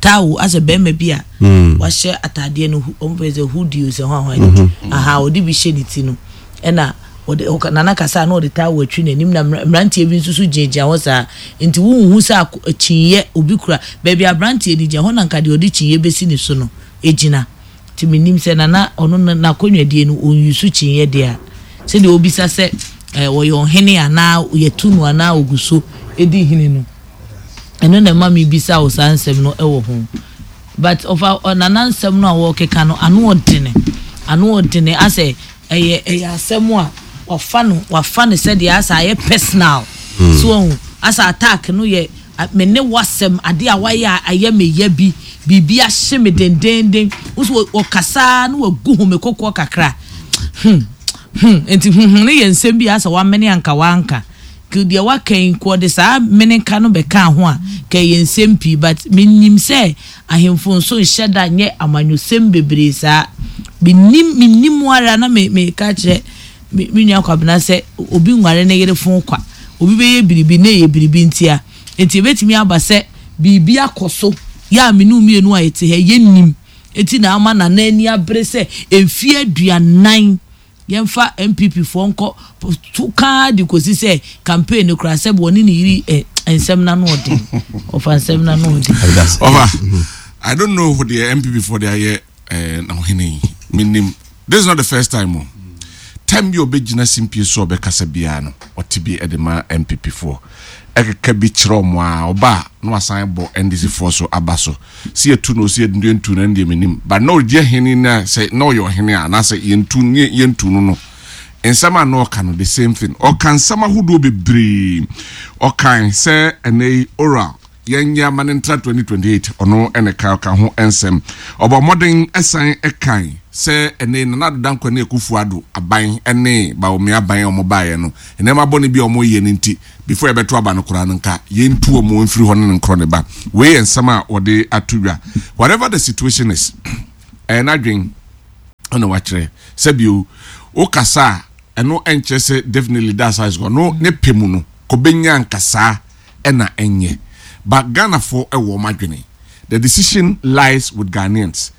taawo asɛ bɛrima bi a wahyɛ ataadeɛ no wɔn fɛ sɛ hoodie o sɛ hwan hwan mm-hmm. aha ɔde bi hyɛ ne ti no ɛna ɔde ɔka nana kasa na ɔde taawo atwi n'anim na mmeranteɛ bi nso so gyinagyina hɔ saa nti wohu sɛ kyinyɛ obi kura baabi aberanteɛ no gyina hɔ na nka deɛ ɔde kyinyɛ bɛsi ne so no egyina. Nti mennim sɛ Nana ɔno no n'akonnwadie no ɔnuse kyiniiɛ deɛ a, sɛdeɛ ɔbisa sɛ eh, ɔyɛ ɔhene anaa yɛtu no anaa ɔgu so di hene no, ɛno na ɛma mebisa wo saa nsɛm no wɔ ho. But ɔfa Nana nsɛm no a wɔrekeka no, ano ɔdene, ano ɔdene asɛ ɛyɛ ɛyɛ asɛm a wafa no wafa no sɛdeɛ asɛ ayɛ personal. So wahu, asɛ attack no yɛ Me ne w'asɛm, adeɛ a wayɛ a ayɛ me ya bi, biribi ahye me dendeenden. Wo nso wɔkasa ara na wagu home kokoɔ kakra. Hmm, hmm, nti hmm hmm no yɛ nsɛm bi a sɛ wamene anka wanka. Nka deɛ waka yi, nka ɔde saa meneka no bɛkaa ho a, nka ɛyɛ nsɛm pii. But menim sɛ ahemfo nso nhyɛ da nyɛ amanyɔsɛm bebree saa. Menim, menim ara na me, meka kyerɛ Me me nua Kwabena sɛ obi nware ne yere fon kwa. Obi bɛyɛ biribi na ɛyɛ biribi ntia. Enti ɛbɛtumi aba sɛ biribi akɔ so yɛ a me ne wo mmienu a yɛte ha yi yɛnnim. Enti na ama Nana ani abere sɛ mfeɛ 40 yɛmfa NPP foɔ nkɔ to ka ara de kɔsi sɛ campaign no koraa sɛbe ɔne ne yere eh, nsɛm no ano ɔden. Ɔfa nsɛm no ano ɔden. Ɔfa, I don't know deɛ NPP foɔ de ayɛ eh, na ɔhene yi. Menim. This is not the first time o. Time bi a ɔbɛgyina simpie so a ɔbɛkasa biara no, ɔte bi de ma NPP foɔ. Ɛkeka bi kyerɛ wɔn a, ɔba a na wasan bɔ NDC foɔ so aba so. Sɛ yɛtu no o, sɛ yɛntu no ɛno deɛ mennim. But na ɔdi ahene no a, sɛ na ɔyɛ ɔhene a, anaasɛ yɛntu no, yɛntu no no, nsɛm a na ɔka no, the same thing. Ɔka nsɛm ahodoɔ bebree. Ɔkae sɛ ɛnɛ yi oral Yɛnyɛ ama no ntra 2028, ɔno na ɛka ɔka ho nsɛm. Ɔbɔ mmɔden san kan sɛ ɛnɛ Nana Addo Dankwa ne Akufo Addo aban ne Bawumia aban a wɔbaeɛ no, nneɛma bɔne bi a wɔyɛ no nti, before yɛbɛto aba no koraa no nka yɛntu wɔn mfiri hɔ ne no nkorɔ ne ba. Wei yɛ nsɛm a wɔde ato dwa. Whatever the situation is, ɛyɛ n'adwen na wakyerɛ. Sɛbio, wokasa a, ɛno nkyerɛ sɛ definitely that's how it's going. No, ne pɛ mu no, kɔbɛnya nkasaa ɛna ɛnyɛ but Ghanafoɔ ɛwɔ wɔn adwene the decision lies with Ghanaians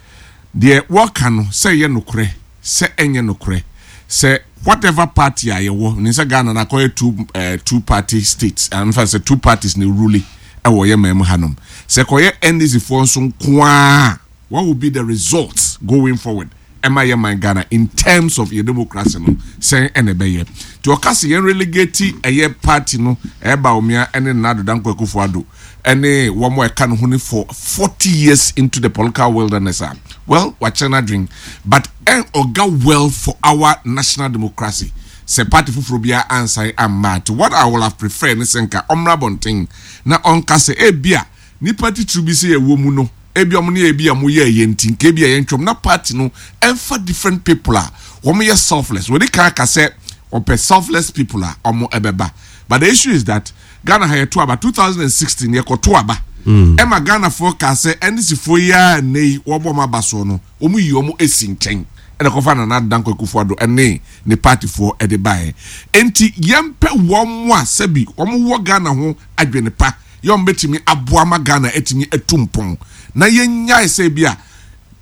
deɛ wɔka no sɛ ɛyɛ nokorɛ sɛ ɛnyɛ nokorɛ sɛ whatever party a yɛwɔ nim sɛ Ghana no akɔyɛ two eh, two party states eh, mfa sɛ two parties na ɛrule ɛwɔ yɛ man mu hanom sɛ kɔyɛ NDC foɔ nso nkoaa what will be the results going forward ɛma yɛ man Ghana in terms of yɛ democracy no sɛn ɛna ɛbɛyɛ nti ɔka sɛ yɛn relegate ɛyɛ party no ɛyɛ Bawumia ɛne Nana Addo Dankwa Akufo Addo ɛne wɔn a ɛka ne ho ne for 40 years into the political wilderness a well wakyerɛ n'adwen but ɛn ɔga well for our national democracy sɛ party foforɔ biara ansan amma nti what I will have preferred ne sɛ nka ɔmmra abɔnten na ɔnka sɛ ebia Nnipa titiriw bi sɛ yɛwɔ mu no, ebia wɔn ne ebia wɔyɛɛ yɛn nti, nka ebia yɛntwam na party no ɛmfa different people a wɔyɛ selfless. Wɔde kan aka sɛ wɔpɛ selfless people a wɔn ɛbɛba. But the issue is that Ghana ha yɛto aba 2016 yɛkɔto aba ɛma Ghanafoɔ kaa sɛ NDC foɔ yi a nnɛ yi wɔbɔ wɔn aba soɔ no wɔn yi wɔn esi nkyɛn ɛna kɔfa Nana Addo Dankwa Akufo-Addo ɛne ne party foɔ ɛde baeɛ. Enti yɛmpɛ wɔn a sɛbi wɔn wɔ Ghana ho adwene pa. yɛ wɔn bɛtumi aboa ma Ghana atumi atu mpɔn na yɛnnyae sɛ bi a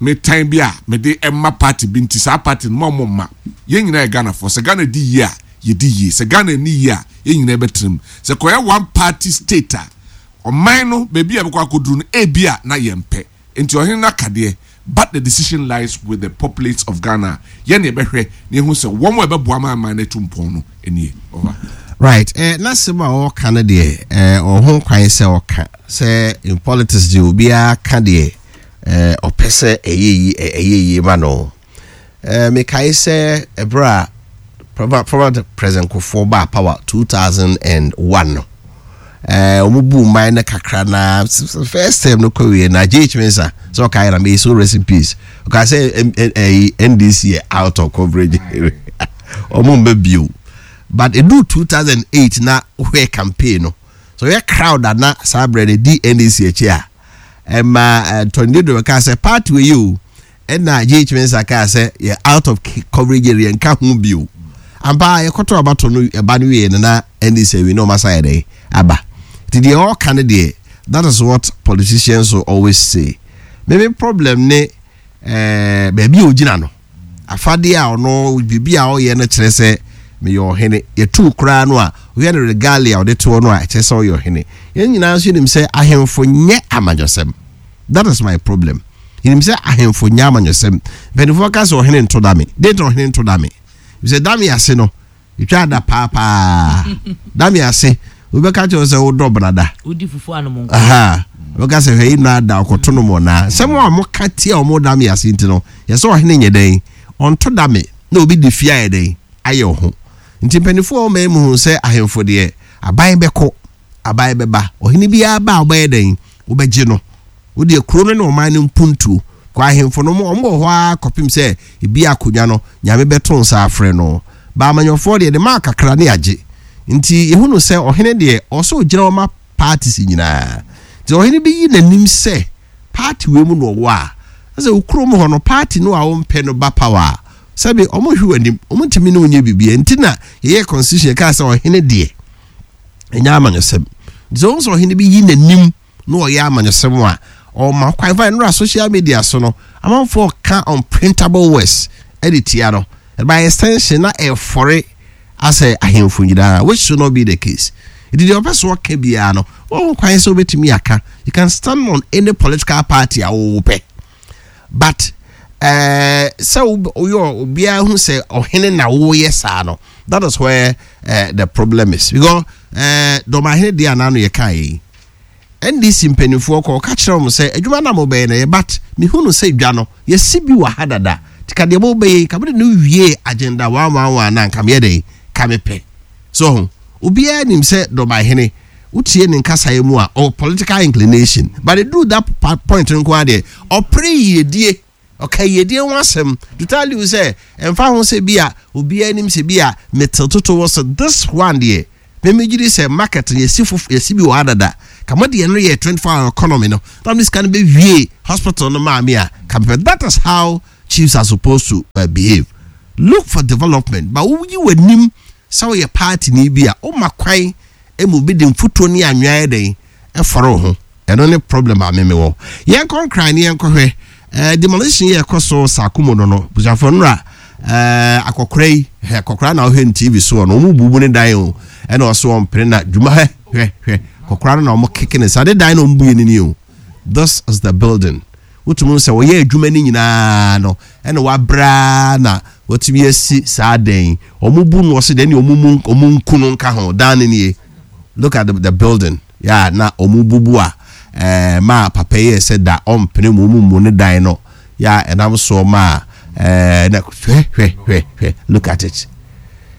metan bi a mede ɛma party bi nti saa party no ma wɔn mma. Yɛn nyinaa yɛ Ghanafoɔ. Sɛ Ghana di yie a, yɛdi yie. Sɛ Ghana nni yie a, yɛn nyinaa bɛtena mu. Sɛ kɔyɛ one party state a, ɔman no baabi a ɛbɛkɔ akɔduru no ebia na yɛmpɛ. Nti ɔhene no aka deɛ, but the decision lies with the populates of Ghana a yɛn na yɛbɛhwɛ na yɛahu sɛ wɔn a ɛbɛboa ma aman no atu mpɔn no nie. Over. Right eh, n'asɛm a ɔreka no deɛ eh, ɔho kwan sɛ ɔka sɛ in politics deɛ obiara ka deɛ eh, ɔpɛ sɛ ɛyɛ yi ɛyɛ yie ma no. Eh, mekae sɛ ɛberɛ a former President Kufuor baa power 2001 no, eh, wɔn bu man no kakra na first term no kɔ wie na J.H. Mensah sɛ ɔkae na may so rest in peace ɔkae sɛ NDC yɛ out of coverage wɔn mba bio but edu 2008 na wohwɛ campaign no so yɛ crowd a na saa berɛ no di NDC akyi a ɛma Tony Dodo kaa sɛ party wei o Ɛna JH Mensah kaa sɛ yɛ out of coverage area nka ho bio. Ampa ara yɛkɔtɔ abato no ɛba no wieɛ no na NDC awie na wɔn asan ayɛ dɛn aba. Nti deɛ ɔreka no deɛ that is what politicians will always say. Me me problem ne eh, baabi a ogyina no. Afadeɛ a ɔno biribi a ɔyɛ no kyerɛ sɛ meyɛ ɔhene. Yɛtu koraa no a wohwɛ no regalia a ɔde toɔ no a ɛkyerɛ sɛ ɔyɛ ɔhene. Yɛn nyinaa nso nim sɛ ahemfo nyɛ amanyɔsɛm. That is my problem. Yɛnim sɛ ahemfo nyɛ amanyɔsɛm. Mpanimfoɔ ka sɛ ɔhene nto dame. Dɛn nti na ɔhene nto dame? Sɛ dame ase no, ɛtwa ada paapaa. Dame ase, wobɛka kyerɛ sɛ wodɔ benada. Wodi fufu anom nko. Aha. Wobɛka sɛ hwɛ yi na ada ɔkɔto no mɔ naa. Sɛm a wɔka tia wɔn dame ase nti no, yɛ sɛ ɔhene nyɛ dɛn? Ɔnto dame na obi de fie ayɛ dɛn? Ayɛ ɔho. Nti mpanimfoɔ a wɔma mu hu sɛ ahemfo deɛ, aban bɛkɔ. Aban bɛba. Ɔhene biara ba a, wobɛyɛ dɛn? Wobɛgye no. Wo deɛ, kuro no ne ɔman no mpuntuo. Kɔ ahemfo no, wɔn wɔ hɔ ara kɔpem sɛ ebia akonnwa no, Nyame bɛto nsa afrɛ no. Ba amanyɔfoɔ deɛ, de ma kakra ne agye. Nti yɛhunu sɛ ɔhene deɛ, ɔwɔ sɛ ɔgyina hɔ ma parties nyinaa. Nti ɔhene bi yi n'anim sɛ party wei mu na ɔwɔ a, na sɛ wo kurom hɔ no, party no a wompɛ no ba power a, sɛbe wɔnhwɛ w'anim, wɔntumi ne wo nyɛ biribiara. Nti na yɛyɛɛ constitution, yɛkaa sɛ ɔhene deɛ, ɛnyɛ amanyɔsɛm nti sɛ wohu sɛ ɔhene bi yi n'anim na ɔyɛ amanyɔsɛm a ɔma kwan fa nnora social media so no amanfoɔ ka unprintable words ɛde tia no by extension na ɛfɔre asɛ ahemfo nyinaa which should not be the case nti deɛ ɔpɛ so ɔka biara no wɔn kwan sɛ wobɛtumi aka you can stand on any political party a wowopɛ but eh, sɛ woyɛ obiara hu sɛ ɔhene na woyɛ saa no that is where uh, the problem is because uh, dɔmahene deɛ anaa no yɛka yi ndc mpanimfoɔ kɔ ɔka kyerɛ wɔn sɛ adwuma no a mobɛyɛ no yɛ but mehu no sɛ dwa no yɛsi bi wɔ ha dada nti ka deɛ mobɛyɛ yi ka mode no wie agenda one one one na nka meyɛ dɛn ka mepɛ so ho obiara nim sɛ dɔmahene Wotie ne nkasaeɛ mu a, ɔwɔ political inclination. But ɛduru that point no nko ara deɛ, ɔpere yiedie. Ɔka yiedie ho asɛm. To tell you sɛ, ɛmfa ho sɛ bi a obiara nim sɛ bi a metew toto wɔ so, this one deɛ, me megye di sɛ market no yɛsi fof yɛsi bi wɔ ha dada. Ka mo deɛ no yɛ 24 hour economy no, na mo sika no bɛwie hospital no maa me a, ka mepɛ. That is how chiefs are supposed to uh, behave. Look for development, but woyi w'anim sɛ woyɛ party ni bi a, woma kwan ma obi de mfuturo ne anwea yɛ dɛn ɛfɔre wo ho ɛno ne problem a meme wɔ yɛnkɔ nkran ne yɛnkɔhwɛ eh, demolition yɛ ɛkɔ so saako no no busuafoɔ nnora eh, akɔkora yi hɛ akɔkora na wohwɛ no tv soɔ no wɔn bubu ne dan o ɛna ɔso wɔn pere na dwuma hwɛ hwɛ hwɛ akɔkora no na wɔn keke ne sa ne dan na wɔn bu yɛ ne ni o this is the building Wotumi hu sɛ wɔyɛ adwuma no nyinaa no ɛna wabrɛ ara na watumi asi saa dan yi. Wɔn bu no ɔse deɛ wɔn mu wɔn nku no nka ho. Dan no nie. Look at the, the building. Yeah, na wɔn bubu a ɛɛ maa papa yi yɛ sɛ da ɔmpene mu wɔn mu ne dan no. Yeah, ɛnam soɔ maa ɛɛ na hwɛ hwɛ hwɛ hwɛ look at it.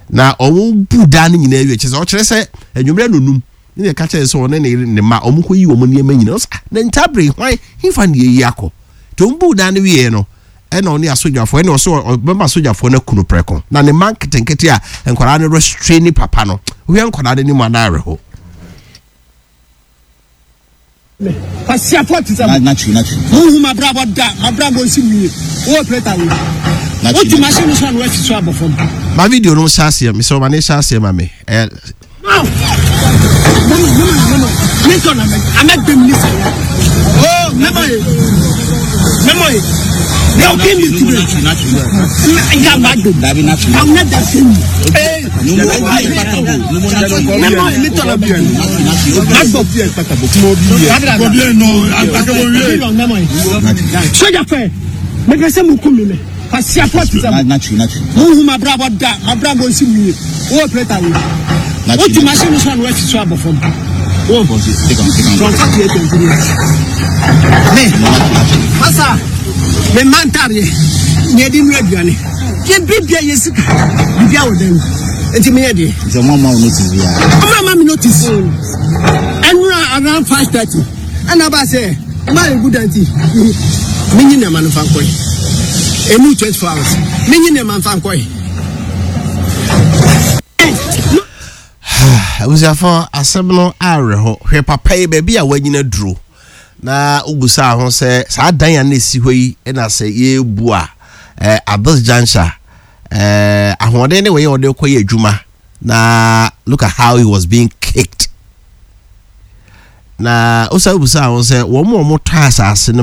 Na wɔn bu dan no nyinaa wie kyerɛ sɛ ɔkyerɛ sɛ anwummerɛ nonum. Ne na ɛka kyerɛ sɛ ɔne ne yere ne mma wɔn kɔ yi wɔn nneɛma nyinaa ɔsɛ ah na ntabere hwan hefa na yɛyi akɔ nti wɔn buu dan no wieɛ no ɛna ɔne asogyafoɔ ɛna ɔsɛ ɔbɛma asogyafoɔ no akunu prɛko na ne mma nketenkete a nkwadaa no restrain papa no wohwɛ nkwadaa no anim anaa awerɛho. Kwasiafoɔ te sɛ mo. Monhu m'abrabɔ da, m'abrabɔ nsi mo yie. Wo operator wei, wote machine no so a na woasi so abɔ fam. Ma video no nhyɛ aseɛ, mesrɛ wo ma no nhyɛ aseɛ ma me. Ɛyɛ. Soja fɛ mepɛ sɛ moku me me kwasiafoɔ te sɛ mo monhu mabrabɔ da mabrabɔ nsi mu yie wowɔ plɛta wei wotu machine no so a na woasi so abɔ fam wo me masa me mma ntareɛ nea ɛde nua aduane yɛ bibia yɛ sika bibia wɔ dan mu nti meyɛ deɛ Nti ɔmo ama wo notice biara? Ɔmo ama me notice ɛnura around 5:30 ɛna aba sɛ maa egu dan ti menyi nneɛma no nfa nkɔe emu 24 hours menyi nneɛma nfa nkɔe. Abusuafo, asɛm no awerɛho. Hwɛ papa yi baabi a wanyina duro na wobusaa ho sɛ saa dan a na ɛsi hɔ yi na sɛ yɛrebu a at this juncture ahoɔden ne wɔyɛ ɔde kɔyɛ adwuma na look at how he was being kicked. Na wosan busaa ho sɛ wɔn a wɔtɔ asase no